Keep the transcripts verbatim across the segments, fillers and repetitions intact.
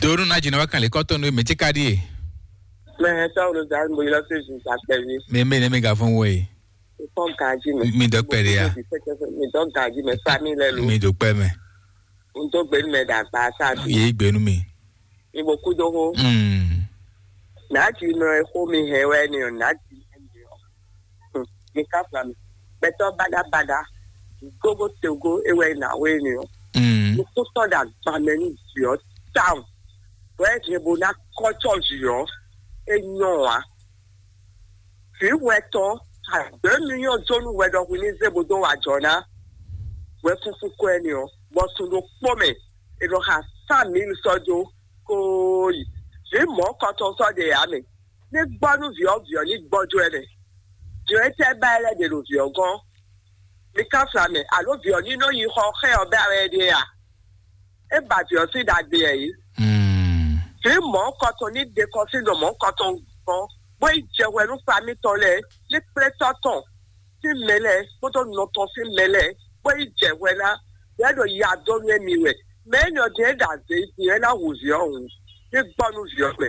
Donu na jina wa kan le kɔtɔ no me ce ka die. Mɛ sɔwlo da mo yɔ se ju sa kpɛvi. Me me ne me ga fɔn wo e. Fɔn gaji mɛ. Mi dɔ kpɛ de ya. Mi dɔ gaji mɛ, famille lɛ lo. Mi do kpɛ mɛ. N tó gbé mɛ dàgbà sáàdì. Ye gbenu mi. Ibo kúdó hó. Mm. Nàájì nɔ ẹ xó mi hɛn wɛ ni o, nàájì ẹ ni o. Mi ká fla mi. Gbɛtɔ badabada. Gogo togo ewɛ na wɛ ni o. Mm. Nukúntɔ da gbamɛ ní diɔ town. Bɔ ɛ jɛ bo ná kɔtsɔ diɔ. E nyɔ wa. Vǐ wɛ tɔn, àgbɛ̌ mì nyɔ́ jó nú hwɛ ɖɔhun ní zé bó dó wa jɔ̌ ná. Hwɛ fúnfún kɔ ɛnɛ ɔ́, bɔ sun ɖokpó mɛ, è nɔ xa sán mǐ sɔ́ jó kóóyi. Vǐ mɔ̌kɔtɔn sɔ́ ɖe ǎ mɛ. Ní gbɔ́ nú vǐ ɔ́, vǐ ɔ́ ní gbɔ́jó ɛ mɛ. Vǐ ɔ́, étɛ́ ba ɛ lɛ́ ɖe ɖo vǐ ɔ́ gɔ́n? Mi ká fla mɛ, alo vǐ ɔ́ ní nɔ yi xɔ xɛ ɔ́ bɛ wɛ é ɖe a? É ba vǐ ɔ́ sín ɖagbe ɛ yí. Vǐ mɔ̌kɔtɔn ní ɖe kɔ sín nɔ mɔ̌kɔtɔn gbɔn, bó yi jɛ hwɛ nú famí tɔn lɛ́ɛ, ní kplé tɔ́ tɔn sín mɛ lɛ́ɛ kpódó nɔ tɔn sín mɛ lɛ́ɛ, bó yi jɛ hwɛ ná. Yɛ ɖo ya dó nú émi wɛ. Mɛ énɛ́ ɔ́ din é ɖo azě din é ná hu vǐ ɔ́ hǔn, ní gbɔ nú vǐ ɔ́ mɛ,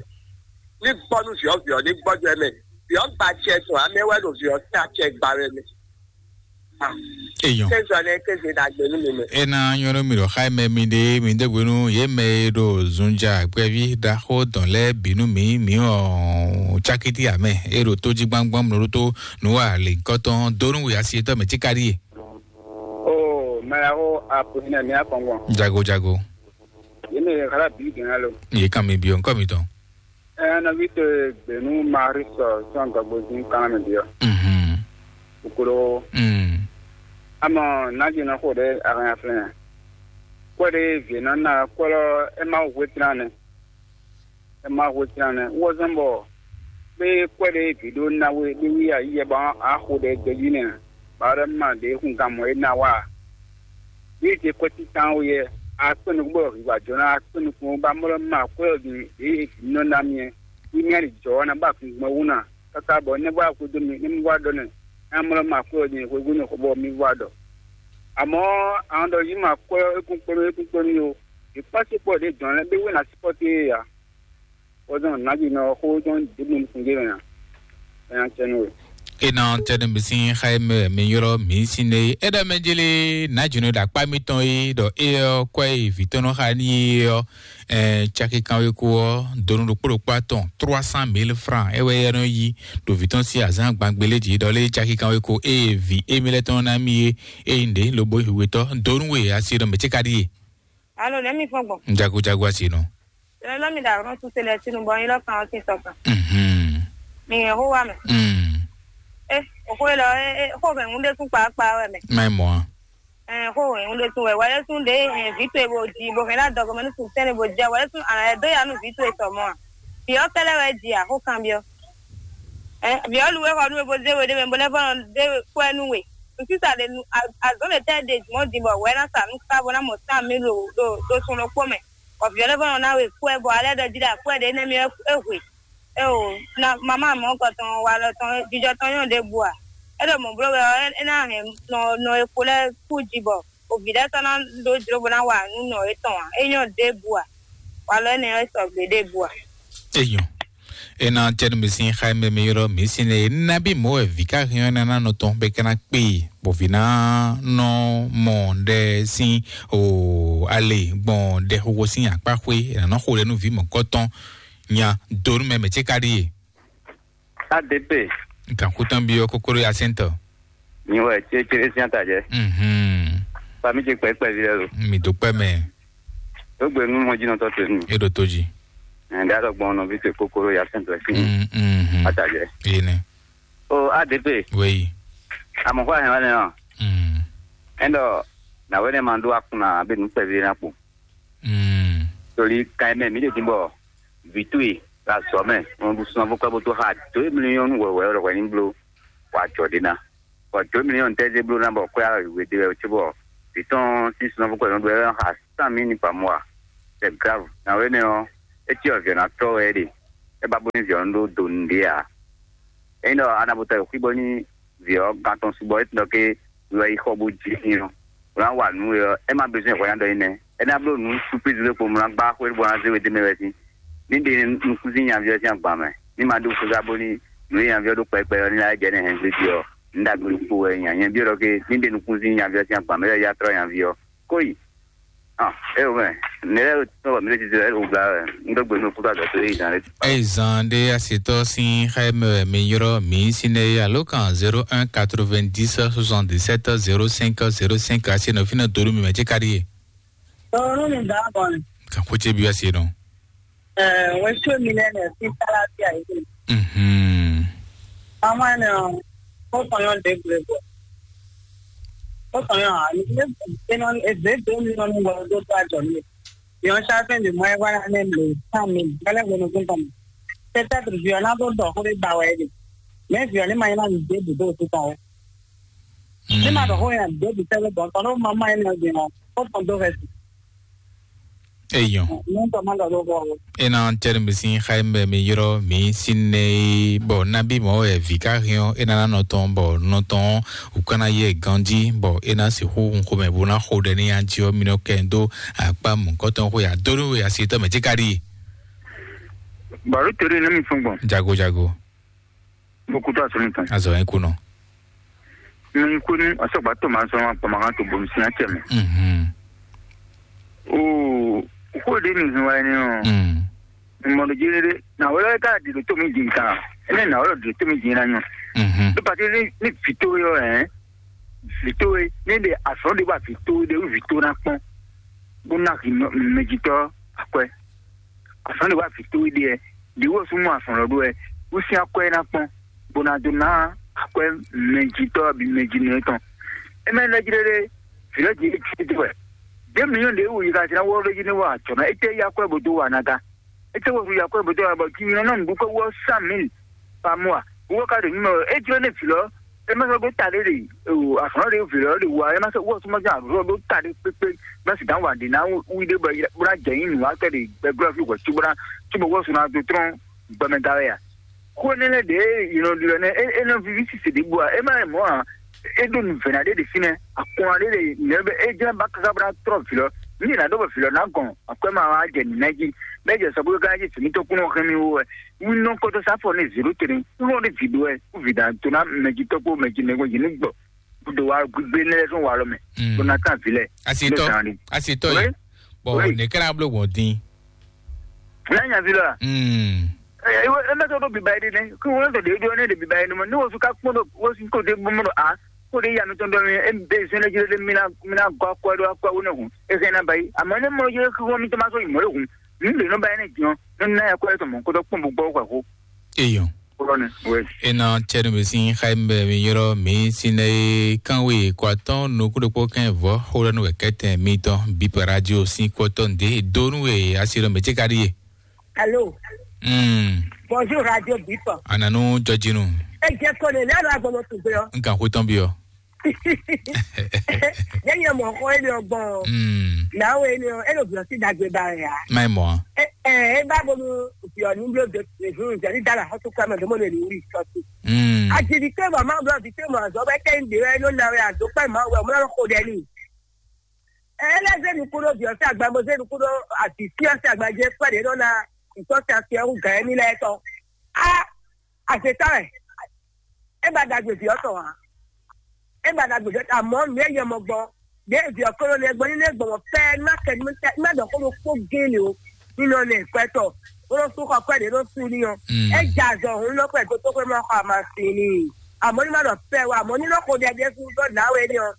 ní gbɔ nú vǐ ɔ́, vǐ ɔ́ ní gbɔjɔ ɛ mɛ. Vǐ ɔ́ gba acɛ tɔn ǎ, mɛ wɛ ɖo vǐ ɔ́ sín acɛ gba wɛ mɛ. Eyɔn. Kézɔ lɛ kéze ɖagbe nú mi mɛ. Ena nyɔnu mi ɖo xa mɛ mi ɖe mi ɖe hwenu ye mɛ e ɖo zunja gbɛvi ɖaxó dɔn lɛ binu mi mi ɔ cakiti amɛ e ɖo tó jí gbangban mi ɖo tó nu wa le nkɔtɔn donu wi asi etɔ mɛ tsikari ye. O mɛlaxó apo hinɛ mi akɔngɔn. Jago jago. Ye mɛ xala bi gɛn alo. Ye kan mi bi o nkɔ mi tɔn. Ɛɛ, nɔví towe Gbenu Maris sɔn gɔgbozin kanna mɛ ɖiɔ. Mhm. Kokoro. Mm. Amɔ naji nɔ xo ɖe ahanya flɛn. Kwɛ ɖe vie nɔ na kwɛlɔ e ma hu etran ne. E ma hu etran ne. Wozɔn bɔ be kwɛ ɖe vi ɖo na we ɖe wi ayi yɛ ba a xo ɖe gbeji ne. Ba ɖe ma ɖe hun gamɔ e na wa. Bí e kwɛ́ títán ó yɛ, akpɛ́n nukún bɔ hǐhwa jɔ ná akpɛ́n nukún bá mlɔ́ ma kwɛ́ ɔ́ din ɖě e vǐ nɔ ná mì é. Bí mì ali jɔ̌ ɔ́ ná ba kún gbɔn wú ná, káká bɔ nɛ́ vɔ aklúdó mì, nɛ́ mì vɔ aɖɔ nɛ, ná mlɔ́ ma kwɛ́ ɔ́ din hwebúnu xo bɔ mì vɔ aɖɔ. Àmọ́, àwọn ɖɔ yí ma kwɛ́ ɔ́, é kún kpɔ́n mì, é kún kpɔ́n mì ó. È kpɔ́n sí kpɔ́ ɖě dɔn lɛ́ɛ, bé wé ná sí kpɔ́ té é ǎ. Wozɔn nǎjinɔ xó dɔn ɖěbǔ nukún gé mɛ ǎ. Ɛ nya cɛ nú we. Ena tɛnɛ mi sin xa mɛ mi yɔrɔ mi sin ne. Eda mɛ jele nǎjinɔ da kpa mi tɔn yi dɔ e ɔ kɔ yi vi tɔn nɔ xa ni e ɔ ɛ caki kan we ko ɔ donu ɖokpo ɖokpo atɔn trois cent mille francs e wɛ yɛ nɔ yi do vi tɔn si azan gbangbele ji dɔ le caki kan we ko e vi emi lɛ tɔn na mi ye e yi nde lobo hiwe tɔ donu we asi dɔ mɛ ce ka di ye. Alo, nɛ mi fɔn gbɔn. Jago jago asi nɔ. Lɔlɔ mi da rɔn tuse lɛ sinu bɔ yin lɔ kan ɔtin sɔ kan. Mhm. Mi yɛn ho wa mɛ. Mm. Eh, o ko lɔ eh eh ko bɛ ŋun de kun kpa kpa wɛ mɛ. Mai mɔ. Eh, ko ŋun de kun wɛ wale sun de eh vi to e bo di bo hɛn la dɔgɔ mɛ nu sun tɛnɛ bo di wale sun ana e do ya nu vi to e sɔ mɔ. Bi ɔ kɛlɛ wɛ di a ko kan bi ɔ. Eh, bi ɔ lu wɛ kɔ nu e bo de we de mɛ bo lɛ fɔ de we kɔ nu we. Nsi sa de nu azɔn de tɛ de jumɔ di bɔ wɛ na sa nu ka bo na mɔ san mi lo do do sun lo kpɔ mɛ. Ɔ, vǐ ɔ́ lɛ́ vɔ́ nɔ ná we kú ɛ bɔ alɛ ɖɔ jí ɖo akwɛ́ ɖě nɛ́ mì wɛ é hwe. É o, ná mamá mɔ̌ kɔ tɔn wa lɔ tɔn jijɔ tɔn nyɔ́ ɖěbǔ a? É ɖo mɔ̌ bló wɛ ɔ́, é ná hɛn nɔ nɔ e kpo lɛ́ɛ kú jí bɔ o vǐ lɛ́ɛ sɔ́ ná ɖó jló bó ná wa nǔ nɔ étɔn ǎ. É nyɔ́ ɖěbǔ a? Walɔ énɛ́ ɔ́, é sɔgbe ɖěbǔ a? Eyɔn. Ena tɛnu mi sin xa mɛ mi yɔrɔ mi sin ne nabi mɔ wɛ vi ka hɛn ɔ́ nana nɔ tɔn bɛ kana kpe bɔ vi na nɔ mɔ ɖɛ sin o ale gbɔn ɖɛ xoxo sin akpa xwe nana xo ɖɛ nu vi mɔ kɔtɔn nya donu mɛ mɛ ce ka ɖi ye. A D P. Gankutɔn bi ɔ kokoro ya sɛntɔ. Nyi wɛ tse tse sian ta jɛ. Mhm. Fami ce kpɛ kpɛ vi lɛ lo. Mi do kpɛ mɛ. Tó gbe nu mɔ jinɔ tɔ to nu. E ɖo to ji. Ɛn da dɔ gbɔn nɔ vi te kokoro ya sɛn tɔ si. Mhm. Ata jɛ. Yene. O A D P. Weyi. Amɔ fɔ ahɛn wa nɛ ɔ. Mm. Ɛn dɔ na wɛ ne ma do akun na be nu kpɛ vi na kpo. Mm. Toli kan mɛ mi de din bɔ vi to yi la zɔ mɛ. Ɔn du sunafo kpɛ bo to ha to yi million wɛ wɛ wɛ ni blo. Wa jɔ de na. Bɔ dǒ mǐ nyɔ́ ntɛ́ zé bló ná bɔ kwɛ́ alɔ yǐhwe ɖé wɛ cóbɔ vǐ tɔn sín sunɔ́ fúnkwɛ nɔ ɖu wɛ xa sán mǐ ní pamɔ a? C'est grave. Nǎwe nɛ ɔ́, é cí ɔ́ vǐ ɔ́ ná tɔ́ wɛ é ɖe. É ba bó ní vǐ ɔ́ nú ɖó do nǔɖé ǎ. Ényí ɖɔ a nǎ bo ta xwí bɔ ní vǐ ɔ́ gán tɔn su bɔ é tunɔ ké wɛ yi xɔ bó jí sín ɔ́, bó ná wa nǔ we ɔ́, é má bezɔ́n hwɛ ná ɖɔ nyí nɛ́. É ná bló nǔ supízi ɖé kpo mlá gbá xwé bɔ ná zé we dó mɛ wɛ sín. Ní ɖe nukúnsin nyaví ɔ́ sín agban mɛ, ní ma ɖó xúgá bóní nǔ e nyaví ɔ́ ɖó kpɛkpɛ ɔ́ ní ná jɛ ní hɛn gbé jí ɔ́, ní ɖagbe ɖokpó wɛ nya nyɛ byɔ́ ɖɔ ké ní ɖe nukúnsin nyaví ɔ́ sín agban mɛ lɛ́ɛ ya tlɔ́ nyaví ɔ́. Kóyi. Ah, é o mɛ, nɛ́ lɛ́ɛ tɔ́ mi lé títí lɛ́ɛ o gbla wɛ, ń dó gbe nú kúta dɔ̌ tó yé zan lé. Eye zan ɖé asitɔ sín xá e mɛ wɛ mi ylɔ́ mǐ sín nɛ́ é alo kan zéro un quatre-vingt-dix soixante-dix-sept zéro cinq zéro cinq asi nɔ fínɛ́ dó nú mi mɛ cé ka ɖíe. Tɔɔrɔ mi da bɔ ni. Kan ko ce bi asi nɔ. Eh, we sue mi lɛ ne fi sala fi ayi. Mhm. Mama ne o, ko tɔn yon de gbe gbe. Ko tɔn yon a ni le e non e de de mi non wa do to a jɔ mi. Yon sa fe de mo e wa na ne le sa mi. Bale go no kun tɔn. Peut-être violent do do ko de ba we de. Mais violent ma ina de de do to ta. Ní ma ɖɔ xó yẹn dó bi sɛ́lɛ́ bɔ tɔn ɖó mamá yẹn nɔ din ɔ, kó tɔn dó hɛ si. Eyɔn. Ní tɔ ma ɖɔ ɖó bɔ. Ena tɛni mi sin xa mi mi yrɔ mi sin ne bɔ nabi mɔ wɛ vi ka hiɔ ena na nɔ tɔn bɔ nɔ tɔn ukana yɛ ganji bɔ ena si xo nxo mɛ bo na xo ɖɛ ni anji ɔ mi nɔ kɛ do akpa mu kɔtɔn xo ya do nú we asi tɔ mɛ ti ka ɖi. Baro tere ne mi fun gbɔn. Jago jago. Mo kutu asɔnni kan. Azɔ yẹn kunɔ. Mi kunu asɔgba to ma sɔn ma pama kan to bomi sin acɛ mɛ. Mhm. O ko de mi hin wa ni o. Mm. Mo do jere de na wala ka di do to mi din kan. Ene na wala do to mi din na nyo. Mhm. To pati ni ni fito yo eh. Fito e ni de asɔn de ba fito de u fito na kpɔn. Bo na hi mejitɔ akwɛ. Asɔn de ba fito de e. Ɖi wɔ súnmọ́ afɔn lɔ ɖó wɛ, wú sín akwɛ́ ná kpɔ́n, bó ná dó ná akwɛ́ mɛjitɔ́ ɔ́ bǐ mɛjinɔ tɔn. É mɛ lɛ́ jlé ɖé, vǐ lɛ́ jǐ é cí dó wɛ. Dě mǐnyɔ́ ɖě wú yi ka jlá wɔ́ ɖé jí ní wa ajɔ̌ ná, étɛ́ yí akwɛ́ bó dó wa ná gá? Étɛ́ wɔ hu yi akwɛ́ bó dó wa bɔ jí nyɔ́ nɔ nǔɖuɖu kó wɔ sán mǐ pa mɔ a? Wú wɔ ka ɖo nyí mɛ wɛ, é jló ní vǐ lɔ, é má sɔ́ ɖó ta ɖé ɖe, o, afɔ̌n ɖé vǐ lɔ ɖe wa, é má sɔ́ wɔ súnmọ́ ján àdúró ɖó ta ɖé kpékpé, má sì dán wǎ ɖě ná wí ɖé bɔ bó ná jɛ nyí nǔwatɔ́ ɖe gbɛgbɛ́ fí hwɛ̌ cóbó ná cóbɔ wɔ sú ná dó trɔ́n gbɛmɛ da wɛ a? Xó énɛ́ lɛ́ɛ ɖě è nɔ ɖi wɛ nɛ́, é nɔ víví sise ɖěbǔ ǎ, é má nyí mɔ̌ ǎ. É ɖó nǔvɛ́ná ɖé ɖe fínɛ́, akɔn ɖé ɖe nɛ̌ bɛ é jlɛ́n ba káká bó ná trɔ́ vǐ lɔ. Ní è nǎ ɖó bɔ vǐ lɔ ná gɔn akwɛ́ ma wá jɛ nǔ ná jí, bɔ é jɛ sɔ bó ká jí vǐ mítɔn kún nɔ hɛn mì wú wɛ. Wínú kɔ́tɔ́ sáfɔ ní zěɖó tɛnɛ, wínú ní vǐ ɖó wɛ, kú vǐ ná tó ná mɛjitɔ́ kpó mɛjinɔ kpó yě ní gbɔ, bó ɖo wá gbígbé énɛ́ lɛ́ɛ sɔn walɔ mɛ, bó ná tán vǐ lɛ́ɛ. Asitɔ, asitɔ yi. Bɔn ne kɛra blo gbɔn din. N'a nya vi la. Mm. Ɛ ɛ ɛ mɛ tɔ ɖo biba yi ɖe nɛ. Kí wọ́n tɔ ɖe ɖo ne ɖe biba yi ɖe mɔ. Ne wọ́n su ka kpɔn ɖo wọ́n su ko ɖe bɔn ɖo a ko ɖe ya mi tɔn dɔ mi e be zɛn ɖe jɛ ɖe mi na mi na gɔ akɔ ɖo akɔ wo ne hun. E zɛn na ba yi. Àmọ́ ne mɔ yɛ kí wọ́n mi tɔ ma sɔ yi mɔ ɖe hun. Mi lè nɔ ba yi ne jɔn. Ne na ya kɔ yɛ tɔ mɔ ko dɔ kpɔn bɔ gbɔ kɔ ko. Eyɔn. Kúrò ní wẹ́ẹ̀sì. Ena tsɛnu mi sin xayi bɛ mi yɔrɔ mi sin ne kanwe kwatɔn nukuɖokpo kɛn vɔ xo ɖe nu wɛ kɛtɛ mi tɔn bi pa radio sin kɔtɔn de donu we asi ɖɔ mɛ tse ka ɖi ye. Allô. Hmm. Bonjour radio Bip. Ananu jɔjinu. E jẹ ko ne ne alo agbɔnɔ tugbe ɔ. N kan xo tɔn bi ɔ. Yɛ nyɛ mɔ xɔ ele ɔ gbɔn. Hmm. Nawe ele ɔ ele ɔ bi ɔ si dagbe ba ya. Mai mɔ. E e e ba bonu bi ɔ ni blo de de hun jɛ ni da la xɔtu kura mɛ domo le ni wuli sɔsi. Hmm. Ajidi te mɔ ma blo bi te mɔ azɔ bɛ kɛ n de wɛ no nawe azo kpɛ ma wɛ mo na xo dɛ ni. Ele ze nu kudo bi ɔ si agba mo ze nu kudo asi si ɔ si agba je kpɛ de no na ntɔ si asi ɔ hu gan ni lɛ tɔ. A Azeta wɛ. E ba dagbe vi ɔtɔ ha. E ba dagbe vi ɔtɔ amɔ nu e yɛ mɔ gbɔ. De vi ɔkɔlɔ ne gbɔ ni ne gbɔ mɔ pɛ ma kɛ ni ma dɔ ko kpo gele o. Ni nɔ ne kwɛtɔ. Ko su kɔ kwɛ de no su ni o. Mm. E ja zɔ hun lɔ kwɛ to to kwɛ ma kɔ ama si ni. Amɔ ni ma dɔ pɛ wa amɔ ni nɔ ko de de fu dɔ na we ni o.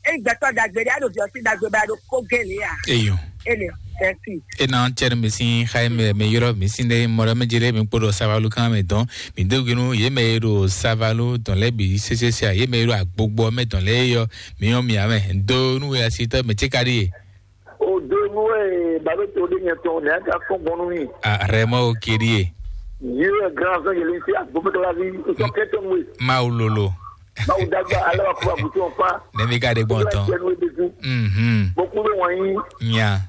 Eyi gbɛtɔ dagbe ɖe aɖo viɔsi dagbe ba ɖo ko gele ya. Eyo. Ele tɛsi. Ena tsɛnu mi sin xayi mɛ mi yɔrɔ mi sin ɖe mɔɖɔ mi dzi ɖe mi kpo ɖo savalu kan mɛ dɔn mi do ginu ye mɛ ye ɖo savalu dɔn lɛ bi sesese a ye mɛ ye ɖo agbogbo mɛ dɔn lɛ yɔ mi yɔ mi amɛ do nu we asi tɔ mɛ tse ka ɖi ye. O do nu we balo to de nyɛ tɔn ne aka fɔn gbɔn nu mi. A rɛmɔ o kiri ye. Ye grand frère yeli si agbogbo la vi sɔ kɛtɔ nu we. Mawu lolo. Mawu dagba ale wa kuba butu ɔfa. Ne mi ka de gbɔn tɔn. Mhm. Boku be wɔnyi. Nya.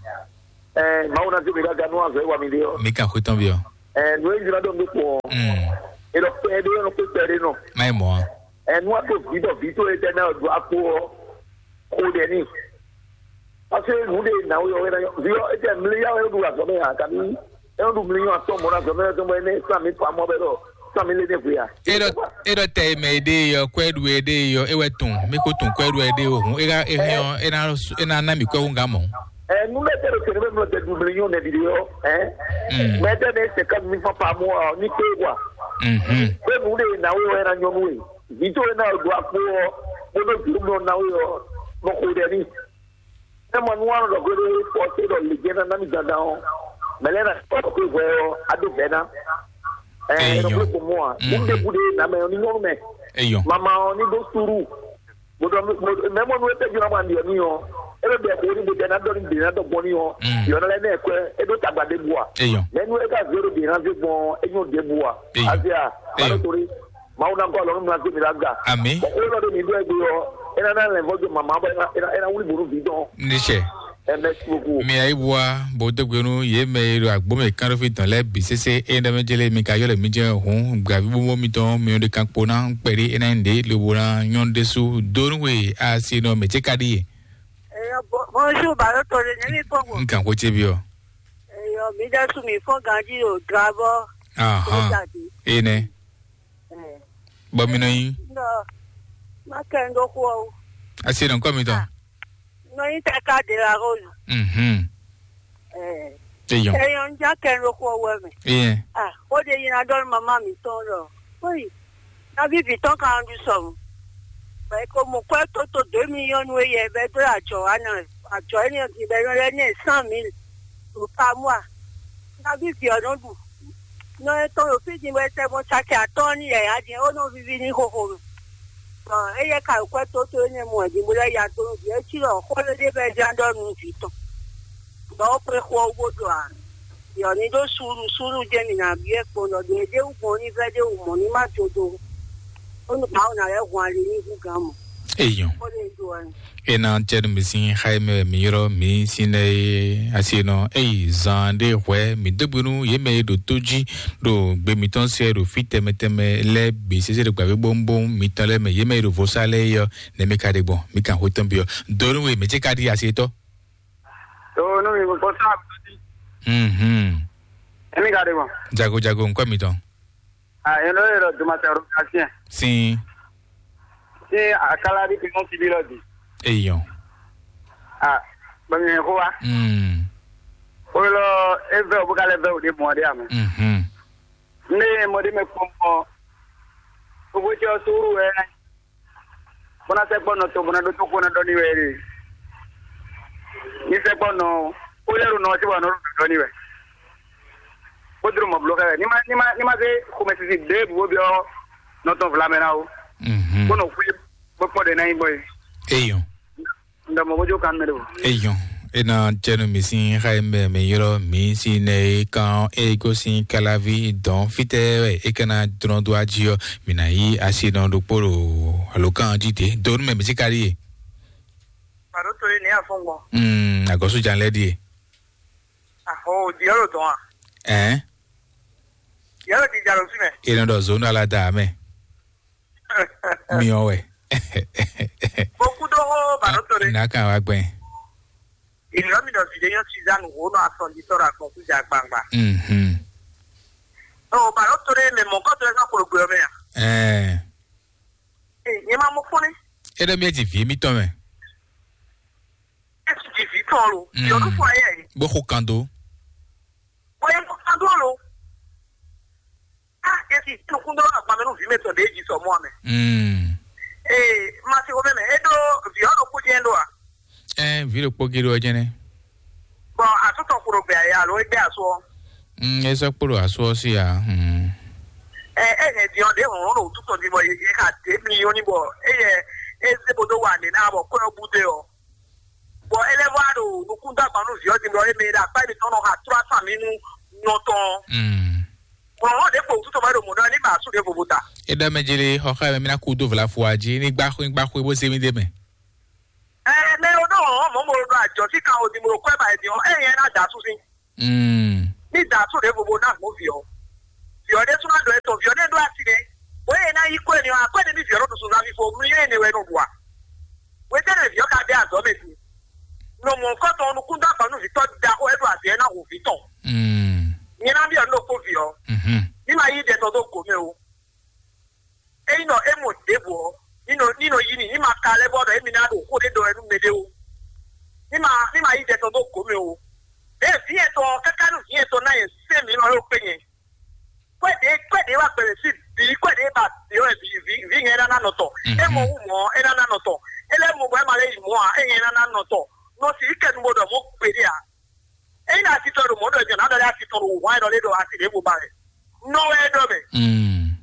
Ɛɛ Mawu na to mi ka ganu azɔ ewa mi de yɔ. Mi ka xo tɔn bi yɔ. Ɛɛ nu eyi na dɔn do kpɔ. Mm. Elɔ pɛ de yɔ pe pɛ de nɔ. Mai mɔ. Ɛɛ nu ato vi dɔ vi to etɛ na do akpo ɔ. Ko de ni. Parce que nǔ ɖe nǎwe ɔ́ é ná nyɔ́ vǐ ɔ́, é jɛ mlí yá wɛ é ɖu azɔ̌ mɛ ǎ, kabi é nɔ ɖu mlí nyɔ́ atɔ́ɔ́n mɔ̌ ná azɔ̌ mɛ tɔn bɔ é nɛ́ sán mi pa mɔ bɛ ɖɔ sán mi lé nɛ́ hwe ǎ. Eɖɔ eɖɔ tɛ mɛ ɖe yɔ kwɛ ɖu ɖe yɔ e wɛ tun mi ko tun kwɛ ɖu ɖe o hun e ka e hɛn ɔ e na e na na mi kwɛ hun ga mɔ. Ɛ nu bɛ tɛ ɖo kɛnɛ bɛ mlɔ tɛ ɖu mlí nyɔ́ nɛ ɖiɖe ɔ́ ɛ Mm. Mɛ tɛ nɛ sɛ ká mi fa pa mɔ ɔ ní kpé wa. Mhm. Bɛ nu ɖe nǎwe ɔ́ é ná nyɔ́ nú we vǐ tó é ná ɖo akpó ɔ́ bó ɖo jǔ mlɔ nǎwe ɔ́ nɔ xo ɖɛ ní. Ne mɔ nú ɔ́ nɔ ɖɔ xwé ɖé fɔ té ɖɔ lě jɛ ná ná mi dandan ɔ́, mɛ lɛ́ɛ ná kpɔ́ ɖɔ xwé hwɛ ɔ́, á ɖó vɛ̌ ná. Ɛ Eyɔn. Ɖɔ xwé gbɔn mɔ a, mo ɖe Mm. bu ɖé ná mɛ ɔ́ ní nyɔ́nu mɛ. Eyɔn. Mama ɔ́ ní ɖó súrú. Mo ɖɔ mɛ mɔ nú é tɛ́jú ná ma ɖiɔ ní ɔ́, é ɖo ɖɛ xó ní bó tɛ ná ɖɔ ní bǐ ná ɖɔ gbɔn ní ɔ́, Mm. yɔ ná lɛ́ ná ɛ kwɛ, é ɖó tagba ɖé bu a. Eyɔn. Mɛ nú é ka zé ɖo bǐ ná zé gbɔn ɔ́, é nyɔ́ ɖě bu a. Eyɔn. Azia, Eyɔn. Maɖó torí, Mawu ná gɔ́ alɔ nú mla zé mi ɖó aga. Amǐ. Bɔ xó élɔ́ ɖé mi ɖó ɛ ɖó ɔ́, é ná ná lɛn vɔ́ dó mama bɔ é ná é ná wlí bǒ nú vǐ tɔn. Níṣẹ́. Ɛ mɛsi boku. Mi ayí bua bó dó gbe nú yě mɛ e ɖo agbǒ mɛ kánɖófí tɔn lɛ́ɛ bǐ sésé é ɖɛ́ mɛ jélé mi ka ylɔ́ mǐ jɛ́n hǔn gbǎví bóbó mitɔn mi ɖe kan kpo ná kpɛɖé é ná nyí ɖě lobo ná nyɔ́ ɖésú dó nú we asi nɔ mɛ cé ka ɖíe. Bonjour, Baro Tore, nyɛ mi fɔ go. N kan xó cé byɔ́. Eyo, mi ɖe su mi fɔ ganji o, drabɔ. Ahan. Énɛ́. Bɔ mi nɔ nyi. Nɔ, ma kɛ n ɖo xo o. Asi nɔ kɔ mi tɔn. Nɔ nyi tɛ ka de la rose. Mhm. Eh. Eyɔn. Eyɔn ja kɛ n ɖo xo wɛ mɛ. Eyɛn. Ah, o de yina dɔ mama mi tɔn lɔ. Oyi. Na vivi tɔn kan du sɔmu. Bɛ ko mo kwɛ toto deux millions nu eyɛ bɛ do ajɔ wa na ajɔ eni ɔdi bɛ yɔ lɛ ne cent mille. Par mois. Nabí vǐ ɔ́ nɔ ɖu nɔ etɔn ɖo fí din bɔ è tɛ gbɔn caki atɔ́ɔ́n n'i yǎyá din, é nɔ víví n'i xóxó mɛ. Bɔ éyɛ́ ka ɖo kwɛ́ tótó énɛ́ mɔ wɛ din bó lɛ́ ya dó nú vǐ é cí ɖɔ xó ɖé ɖé bɔ é ján ɖɔ nú vǐ tɔn. Bɔ é xwé xó ɔ́ wú bó ɖɔ ǎ. Vǐ ɔ́ ní ɖó suúlu, suúlu jɛ́n mǐ ná byɔ́ ɛ kpɔ́n ɖɔ ɖě ɖé wú gbɔn ní vɛ́ ɖé wú mɔ̌ ní má jodo. Bónú Mawu ná lɛ́ hun ali ní hú gǎn mɔ̌. Eyɔn. Xó ɖé ɖo wɛ. Ena cɛnu mi sin xa yi mɛ mi yrɔ mi sin nɛ ye asi nɔ eyi zan ɖe hwɛ mi dogbe nu ye mɛ ye ɖo tó jí ɖo gbe mitɔn sɛ ɖo fi tɛmɛ tɛmɛ lɛ bi sese ɖo gbàgbé bónbón mitɔn lɛ mɛ ye mɛ ye ɖo vosa lɛ yɔ ne mi ka ɖe gbɔn mi kan xwe tɔn bi ɔ donu we mi tse ka ɖi asi tɔ. Donu mi ko sa. Mhm. Emi ka ɖe gbɔn. Jago jago nkɔ mitɔn. Ah, yɛn lɔ yɛ lɔ duma tɛ ro ka siɛn. Sin. Ṣé àkàlà bí ti mú síbí lọ dì? Eyɔn. Ah, bẹ̀rẹ̀ yẹn kó wa. Mm. Ó lọ, é vẹ́ òbúkálẹ̀ vẹ́ òde mọ̀ ọ́dẹ́ àmì. Mhm. Ní mọ̀dé mẹ́ kpɔn mọ́. Gbogbo tí ọ sóru ẹ. Bọ́nà sẹ́ gbọ́nà tó, bọ́nà dó tó kó ná dọ́ ní wẹ́ rè. Ní sẹ́ gbọ́nà, ó lẹ́rù náà tí wà náà dọ́ ní wẹ́. Ó dúró mọ̀ bùlọ́ kẹ́. Ní ma, ní ma, ní ma ṣe kó mẹ́ sisi dé bùbó bí ọ nɔ tɔn vlamɛ na o. Mhm. Kpɔnɔ kú bó kpɔn ɖe ná nyí gbɔ ye. Eyɔn. Ndɔ mɔ bójú kan mɛ ɖo. Eyɔn. Ena jɛnu mi sin xa yi mɛ mi ylɔ mi si nɛ e kan e ko sin kalavi dɔn fitɛ wɛ e kana drɔn do aji ɔ mi na yi asi nɔ ɖokpo ɖo alo kan ji te donu mɛ mi si kari ye. Pàdó torí ní àfọ̀ngbọ̀n. Mm, agɔsu jan lɛ die. Àhó di ɔlò dɔn a? Ɛn. Yálò di jalò fi mɛ. Ena dɔ zonu ala da mɛ. Miɔ wɛ. Mo kú dó hó bàdó torí. N'a kan wa gbɛn. Ìlú mi dɔ fìdí yóò ti zá nù hó nù asɔ̀ndí sọ̀rọ̀ àkànṣe jà gbangba. Mhm. Ɔ bàdó torí mɛ mɔ kɔtɔ ẹ ká kúrò gbé ọmọ yà. Ɛɛ. Ẹ yẹn máa mú fún ni. E ɖe mi e dzi vi mi tɔn mɛ. Ẹ ti di vi tɔn lo. Mm. Yọdún fún ayé yìí. Bó ko kan do. Bóyá mo kan dó lo. Ah, esi nukun dɔ agba mɛ nu vi mɛ tɔ de dzi sɔ mɔ amɛ. Mm. Ee, ma se wo mɛ mɛ. E do vi ɔ do ku jɛ do a? Ɛɛ, vi ɖokpó gé ɖo ɔjɛ nɛ. Bɔn asutɔ kuro gbɛ ya alo egbe asu ɔ. Mm, e sɔ kpolo asu ɔ si ya. Mm. Ɛ ɛ hɛn di ɔ de hɔn ɖo tutɔ di bɔ ye ka de mi yɔ ni bɔ eye eze bo do wa ne na bɔ kɔ yɔ bu de ɔ. Bɔn ele vɔ a ɖo nukun da gbanu vi ɔ di bɔ eme ɖe akpa mi tɔn nɔ ha trɔ asa mi nu nɔ tɔn. Mm. Bɔn hɔn de kpo tutɔ bɔ e ɖo mɔ ɖɔ ni ba asu de vovo ta. E ɖɔ mɛ jeli xɔxɔ mɛ mi na ku do vla fo aji ni gba xwe gba xwe bo se mi de mɛ. Ɛ mɛ o ɖo hɔn mɔ mo ɖo ajɔ si kan o di mo ɖo kɔ ɛ ba e di hɔn ɛ yɛn na da asu si. Mm. Ní ìdá tó lè vovo náà mú viɔ. Viɔ ɖé súnmọ́ dɔ etɔn, viɔ ɖé ɖó asi ɖé. Wòye ná yí kó ènìyàn, akó ènìyàn ní viɔ ɖó tuntun náà fífo, mú yé ènìyàn wɛ nù bùa. Wetɛ́nɛ viɔ ka bɛ azɔ̌ mɛ din. Nɔ mɔ nukɔn tɔn nukún dó agba nú vǐ tɔn ɖaxó e ɖo azǐ e ná hu vǐ tɔn. Mm. Nyɛ ná byɔ́ nú ɖokpó vǐ ɔ́. Mhm. Ní ma yí ɖɛ tɔn dó gǒ mɛ o. Ényí nɔ é mɔ ɖěbǔ ɔ́, ní nɔ ní nɔ yí n'i, ní ma ka lɛ́ bɔ ɖɔ émí ná ɖo xó ɖé ɖɔ wɛ nú mɛɖé o. Ní ma ní ma yí ɖɛ tɔn dó gǒ mɛ o. Ɖěe vǐ yɛn tɔn ɔ́, káká nú vǐ yɛn tɔn ná yɛ sɛ́n mǐ nɔ ɖo kpé nyɛ. Kwɛ́ ɖě kwɛ́ ɖě wá gbɛmɛ sí bǐ, kwɛ́ ɖě ba bǐ wɛ bǐ vǐ vǐ nyɛ é ná ná nɔ tɔn. É mɔ wú mɔ̌, é ná ná nɔ tɔn. É lɛ́ mɔ bɔ é ma lɛ́ yi mɔ̌ ǎ, é nyɛ é ná ná nɔ tɔn. Nɔ sǐ kɛ nu bo ɖɔ mɔ̌ gbeɖé ǎ. Ényí ɖo asi tɔn ɖo mɔ̌ ɖɔ jɔ̌ ná ɖɔ lé asi tɔn ɖo wǔhwan e ɖɔ lé ɖo asi ɖěvo ba wɛ. Nɔ wɛ é ɖɔ mɛ. Mm.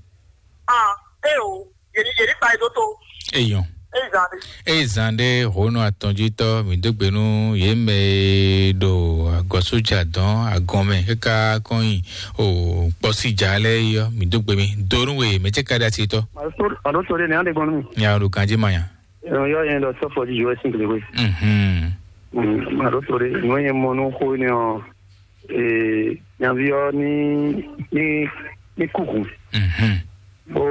Ah, é o, yě ní yě ní kpa ɛ dó tó. Eyɔn. É zan ɖé. Eye zan ɖé hǒnɔ atɔnjítɔ́ mǐ dó gbe nú yě mɛ e ɖo agɔ̌sójà dɔn agɔn mɛ káká kɔn nyi o kpɔsíjà lɛ́ɛ yi ɔ́, mǐ dó gbe mì do nú we mɛ cɛ́ ka ɖe asi tɔn. Màɖó tó ɖé nɛ̌ á ɖe gbɔn nú mì. Nya ɖo ganjí ma nya. Yɔ yɛn ɖɔ sɔfɔ di yɔ sin kele we. Mhm. Màɖó tó ɖé nú yẹn mɔ nú xó ne ɔ ee nyaví ɔ ní ní ní kúkú. Mhm. Bó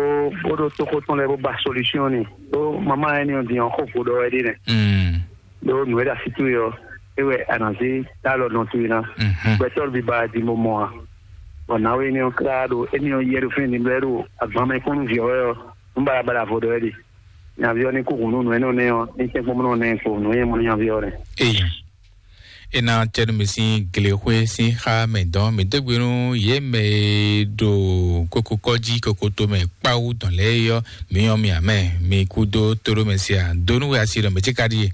bó ɖo tóxó tɔn lɛ bó ba solution ni bó mama yẹn ní ɔ din ɔ xó vo ɖɔ wɛ ɖi nɛ. Mm. Ɖó nǔ e ɖo asi towe ɔ é wɛ a nǎ zé dó alɔ nɔ towe ná. Mhm. Gbɛtɔ́ bi ba din bó mɔ a. Bɔ nǎwe énɛ́ ɔ́ klá ɖo énɛ́ ɔ́ yɛ ɖo fínɛ́ din bɔ é ɖo agban mɛ kpɔ́n nú vǐ ɔ́ wɛ ɔ́, nú baɖabaɖa vo ɖɔ é ɖe. Nyaví ɔ́ ní kú hǔn nú nǔ énɛ́ ɔ́ nɛ́ ɔ́, ní tɛ́nkpɔ́n nɔ nɛ́ kpo nǔ e mɔ nú nyaví ɔ́ nɛ́. Eyɛn. É ná cɛ́ nú mi sín glexwé sín xá mɛ dɔn mǐ dó gbe nú yě mɛ e ɖo kokokɔ́ jí kokoto mɛ kpáwú dɔn lɛ́ɛ é ɔ́, mǐ nyɔ́ mi amɛ, mi kú dó tóɖó mɛ se a dó nú we asi ɖɔ mɛ cíká ɖíe.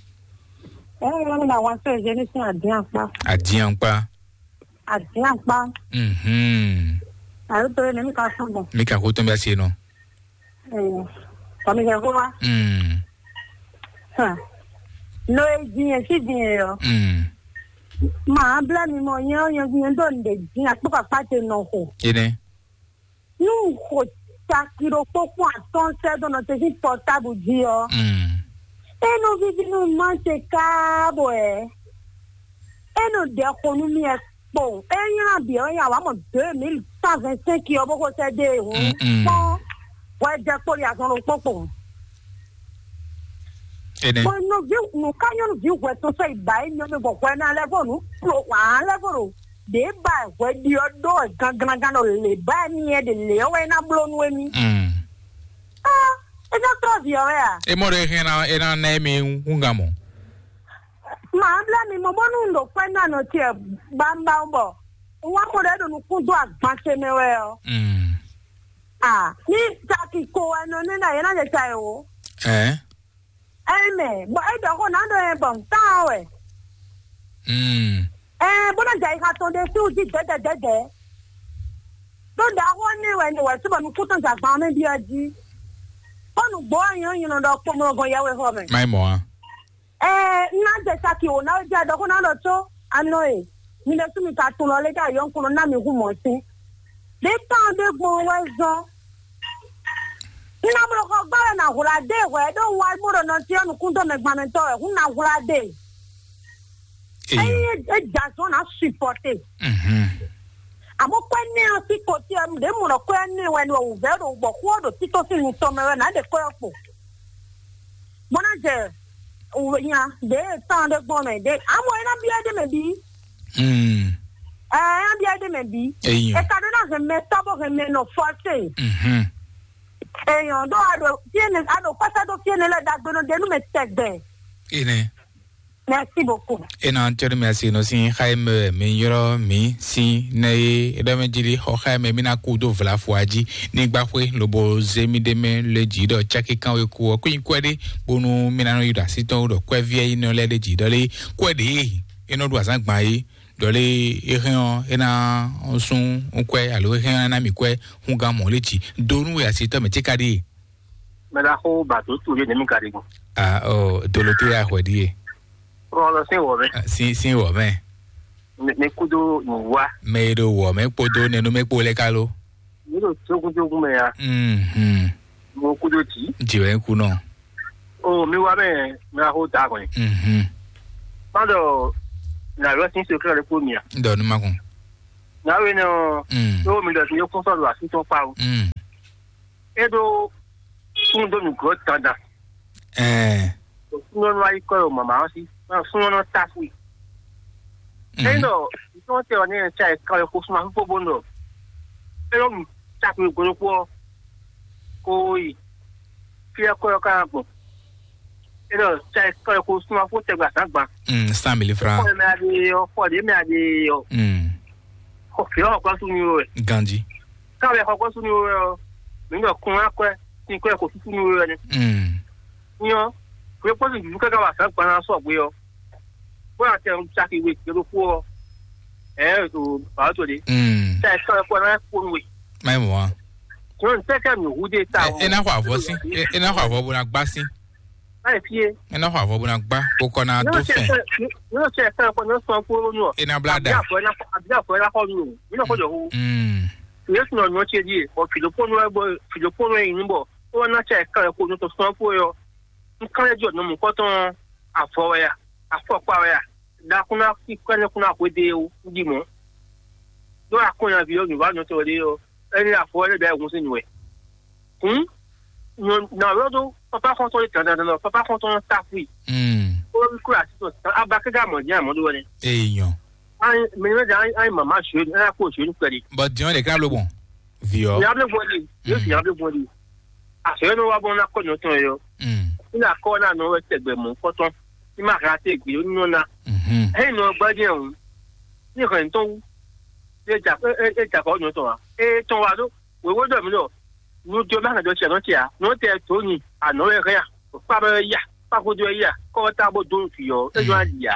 Ɛ ɛ mi na wan sɛ zé ní sín adín akpá. Adín akpá. Adín akpá. Mhm. Àyè tó yẹ ní mi ka sún bọ̀. Mi ka kó tó bí a se nɔ. Ɛ kɔmi kɛ kó wa. Mm. Hàn. No e dín yẹn sí dín yẹn yɔ. Mm. Màá blá mi mɔ nyɛ ɔ́ nyɛ nyɛ ɖó nǔɖé dín akpó kakpá te nɔ xo. Ene. Nú xo caki ɖokpó kpɔ́n atɔ́ɔ́n sɛ́ dó nɔ te sín pɔtábu jí ɔ́, Mm. é nɔ víví nú má se káábɔ ɛ. É nɔ ɖɛ xo nú mì ɛ kpowun. É nylá bǐ ɔ́ nyi awǎ mɔ deux mille cent vingt-cinq ɔ́ bó xo sɛ́ dó e hǔn Mm, mm. kpɔ́n hwɛ jɛ kpó ɖi azɔn ɖokpó kpowun. Ene. Bɔ nɔví nǔ ká nyɔ́núví hwɛ tɔn sɔ́ yi ba émi ɔ́ mɛ bɔ hwɛ ná lɛ́ vɔ nǔ kplo hwǎn lɛ́ vɔ ɖo ɖě ba hwɛ ɖi ɔ́ ɖó wɛ gangan ɖo lě ba émi ɛ ɖe lě ɔ́ wɛ é ná bló nú émi. Mm. Ah, é ná trɔ́ vǐ ɔ́ wɛ a? E mɔ ɖɔ e hɛn ná e ná ná émi húngán mɔ. Màá blá mi mɔ bónú un ɖo kwɛ́ ná nɔ tiɛ bámbám bɔ un wá mɔ ɖɔ é ɖo nukún dó agban ce mɛ wɛ ɔ́. Mm. Ah, ní taki ko wɛ nɔ ní ná yě ná jɛ ta ɛ o. Ɛ. Ɛmɛ, bɔ é ɖɔ xó ná ɖɔ ɛ bɔ un tán ɔ́ wɛ. Mm. Ɛɛ, bó ná jɛ ayixa tɔn ɖe sí wújí dɛ̌dɛ̌dɛ̌dɛ̌. Ɖó ɖaxó ɔ́ ní wɛ ní wɛ sú bɔ nukún tɔn jɛ agban ɔ́ mɛ byɔ́ jí. Bó nǔgbó ɔ́ nyɔ́ nyi nɔ ɖɔ kpomlɔgɔn yɛwexɔ mɛ. Má yi mɔ a. Ɛɛ, un ná jɛ saki wǒ ná wé jɛ ɖɔ xó ná ɖɔ có anɔ e mi ɖésú mi ka tunwun lɔ lé ɖo ayɔ́nkúnɔ ná mi hu mɔ̌ sín. Ɖě tɔn ɖé gbɔn wɛ zɔ́n. Un ná bló xɔ gbá wɛ ná hwlá dé hwɛ ɖó un wá bó ɖo nɔ cyɔ́ nukún dó mɛ gbanmɛtɔ́ wɛ, hun ná hwlá dé. Ényí é jɛ azɔn ná supɔte. Mhm. Àmọ́ kwɛ́ nɛ́ ɔ́ sí kotí ɔ́, ɖě mɔ ɖɔ kwɛ́ nɛ́ wɛ ni wǔvɛ́ ɖo gbɔ xó ɔ́ ɖo tító sín nu tɔn mɛ wɛ nǎ ɖe kwɛ́ ɔ́ kpo. Bó ná jɛ nya ɖě tán ɖé gbɔn mɛ ɖě amɔ é ná byɔ́ ɖé mɛ bí. Mm. Ɛ é ná byɔ́ ɖé mɛ bí. Eyín. È ka ɖó ná hɛn mɛ tɔ́ bó hɛn mɛ nɔ fɔsé. Mhm. Èèyàn ɖó a ɖo fíéne a ɖo kɔ́sá ɖó fíéne lɛ ɖagbe nɔ ɖe nú mɛ tɛgbɛ. Ene. Merci beaucoup. Ena tɔɖi mi asi nɔ sin xa yi mɛ mi yɔrɔ mi sin ne ye eɖɔ mi jili xɔ xa yi mɛ mi na ku do vla fua ji ni gba xwe lobo ze mi ɖe mɛ le ji ɖɔ caki kan we ku ɔ kó nyi kwɛ ɖe bonu mi na nɔ yi ɖo asi tɔn ɖɔ kwɛ viɛ yi nɔ lɛ ɖe ji ɖɔ le kwɛ ɖe ye e nɔ ɖu azan gban ye ɖɔ le e hɛn ɔ e na sun kwɛ alo e hɛn ɔ na mi kwɛ hun gan mɔ le ji do nu we asi tɔ mɛ ti ka ɖe ye. Mɛ ɖaxó ba dǒ tu ɖé nɛ̌ mi ka ɖe gbɔn? Ah, oh, dolote ya hwɛ ɖie. Kplɔn lɔ sín wɔ mɛ. Ah, sin sin wɔ mɛ. Mi mi kúdó nǔwa. Mɛ e ɖo wɔ mɛ kpódó nɛnú mɛ kpó lɛ ká ló. Mi ɖo tógúntógún mɛ ya. Mhm. Mo kúdó tì. Jì wɛ kú nɔ. O mi wá mɛ mi ɖaxó da kɔni. Mhm. Má ɖɔ nàlọ́ sín sokẹ́ rẹ kpó mi à. N dɔ nu ma kun. Nàwé nɛ ɔ. Mm. Tó mi lọ sí yókùn sọ̀rọ̀ àti tó pa o. Mm. É ɖó súnnu dó nǔglɔ́ dandan. Ɛɛ. Súnnu ayikɔ yɔ màmá ɔ́ sí. Ɔ súnmọ́ nɔ tafu i. Ényí ɖɔ ntɔ́ tɛ ɔ́ ní ɛ tsa ɛ kan ɛ xo súnmọ́ fífó bó nɔ. É ɖɔ nu tafu i gbɔdɔkpɔ ɔ́ kó yi. Fí ɛ kɔ ɛ ká gbɔn. É ɖɔ tsa ɛ kan ɛ xo súnmọ́ fó tɛgbɛ azǎn gban. Mm, cent mille francs. Xɔ ɛ mɛ a ɖe ɔ, xɔ ɖě mɛ a ɖe ɔ. Mm. Xɔ fí ɔ́ xɔ gbɔn súnmí wɛ. Ganji. Ká wɛ xɔ gbɔn súnmí wɛ ɔ. Mǐ ɖɔ kún akwɛ, sin kwɛ xo súnmí wɛ nɛ. Mm. Nyɔ, wé kpɔ́ sin dúdú káká wà sǎn gban ná sɔgbe ɔ. Bó ná tɛ saki we gbé ɖokpó ɔ. Ɛ ɛ to bàá to de. Mm. Tɛ sɔ ɛ kpɔ ná kpó nu we. Má yi mɔ wa. Nyɔ, n tɛ kɛ mi hu de ta. E na xɔ avɔ sí. E na xɔ avɔ bó na gbá sí. Má yi fie. E na xɔ avɔ bó na gbá. Kó kɔ na tó fɛn. Nyɔ, tɛ sɔ ɛ kpɔ ná sɔ kpó nu ɔ. E na blá da. Àbí àfọ ẹ ná xɔ nu o. Mi ná xɔ jɔ hu. Mm. Yesu nɔ nyɔ ce di e. Bɔ fìdókpó nu ɛ bɔ fìdókpó nu ɛ yi nu bɔ. Ó wá ná tɛ kɛ ɛ kó nu tó sɔn kpó yɔ. Nkanlɛ́jɔ nɔmɔ̌kpɔ́tɔ́ ɔ́, avɔ wɛ a? Afɔkpa wɛ a? Ɖa kún ná sí kwɛ́ nɛ́ kún ná hwedó é wú, un ɖi mɔ̌. Ɖó akɔnyaví ɔ́, nǔwanú tɔn ɖé ɔ́, é ní avɔ wɛ lɛ́ bǐ ayǐhúnsin nú wɛ. Hǔn, nyɔ nǎ ylɔ́ dó pápá xɔ́ntɔn e dandandan ɔ́, pápá xɔ́ntɔn ɔ́ táfú i. Mm. Ó wá kúrò así tɔn tán, abakɛ́gá mɔ̌ jɛ́n amɔ̌ ɖó wɛ nɛ́. Eyi nyɔ. Anyi mɛ ní mɛ jɛ anyi mama zwe ní ɛna kó zwe ní kpɛɖi. Bɔ diɔn ɖe ká ló gbɔn. Viɔ. Ìyá bí gbɔn di, yóò sì ìyá bí gbɔn di. Àṣeyọ́ ní wá bọ́ ná kọ́ ní ọtún ẹ̀yọ́. Mm. Ní àkọ́ náà ní wọ́n tẹ̀gbẹ́ mọ́ kọ́tán. Ní máa ra tẹ̀ gbé ó ní ọ̀nà. Mhm. Ẹ̀yìn ní ọgbà díẹ̀ ọ̀hún. Ní ìkànnì tó wú. Ní ẹja kọ́ ní ọtún wa. Ẹ tán wa ló. Wèwó dọ̀ mí lọ. Ní ojú ọmọ àgbàdo tiẹ̀ náà tiẹ̀. Ní wọ́n tẹ̀ tó ní àná ẹ̀ hẹ́yà. Òpá bẹ́ẹ̀ yà. Pákó dó ẹ̀ yà. Kọ́ tá bó dó fìyọ́. Ẹ jọ á yà.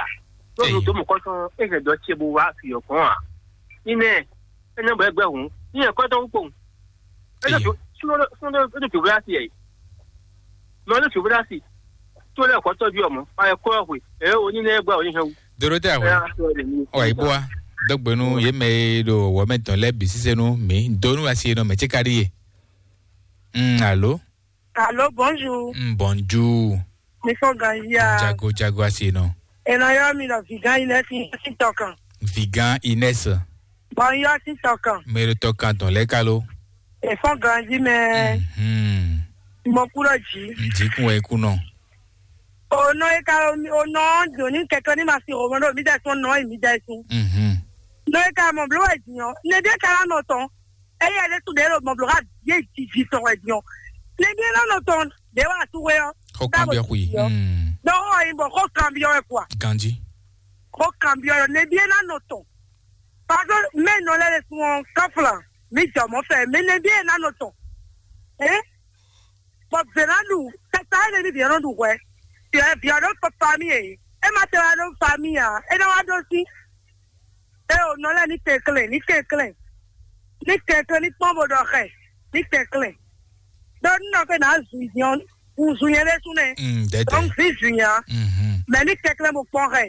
Lọ́dún tó mú kọ́tán. Ẹ kẹ̀ dọ́ tiẹ̀ bó wá fìyọ́ kàn án. Nínú ẹ̀. Ẹ ní ọ̀bọ̀ ẹgbẹ́ òun. Ní ẹ̀kọ́ tó ń pò. Ẹ ní Èyí. Tó súnmọ́ ló súnmọ́ ló tó fìwé láti ẹ̀. Mọ ló fìwé láti. Tó lẹ́ẹ̀kọ́ tọ́jú ọmọ. Ayẹ kọ́ ọ̀hún. Ẹ ò ní lẹ́gbẹ́ òní hẹ́wù. Dorothée Ẹ Awɛ. Á sọ ẹ̀ ní. Ɔ, ibo wa. Dɔgbenu ye mɛ e ɖo wɔmɛ tɔn lɛ bi sise nu mi. Donu asi nɔ mɛ tsi ka ɖi ye. Mm, alo. Allô, bonjour. Mm, bonjour. Mi fɔ ganzia. Jago, jago asi nɔ. Ena yɔ mi lɔ vigan Ines mi si tɔkan. Vigan Ines. Bon, yɔ si tɔkan. Mɛ ɖo tɔkan tɔn lɛ kalo. E fɔ ganzi mɛ. Mhm. Mo kúrò jí. N jí kun wɛ kú nɔ. O nɔ e ka o nɔ doni kɛkɛ ni ma si o mɔ ɖo mi dɛ sɔn nɔ e mi dɛ sun. Mhm. Nɔ e ka mɔ blo wɛ jí ɔ. Ne de ka la nɔ tɔn. Eye ɖésú ɖě ɖo mɔ̌blɔ́ xá vǐ e jiji tɔn wɛ din ɔ́, nɛbí é ná nɔ tɔn ɖě wá asú we ɔ́. Xó kanbyɔ́ xwi. Ɖɔ xó ɔ́ nyí bɔ xó kanbyɔ́ wɛ kua. Ganjí. Xó kanbyɔ́ ɔ́ nɛbí é ná nɔ tɔn. Parce que mɛ nɔ lɛ́ ɖe sun ɔ́, kɔ́fla mi jɔ mɔ̌ fɛ, mɛ nɛbí é ná nɔ tɔn. Ɛ bɔ vě ná ɖu kɛta é nɛbí vǐ ɔ́ nɔ ɖu hwɛ. Vǐ ɔ́ vǐ ɔ́ ɖo famille e é ma tɛ wá ɖo famille ǎ, é ná wá ɖó sí. Eo nɔ lɛ́ɛ ní kɛnklɛ́n, ní kɛnklɛ́n, ní kɛnklɛ́n, ní kpɔ́n bó ɖɔ xɛ, ní kɛnklɛ́n. Ɖó nínɔ pé nǎ zu nyɛ, un zu nyɛ ɖésú nɛ́. Mm, dɛdɛ. Donc vi zu nyɛ ǎ. Mhm. Mɛ ní kɛnklɛ́n bó kpɔ́n xɛ.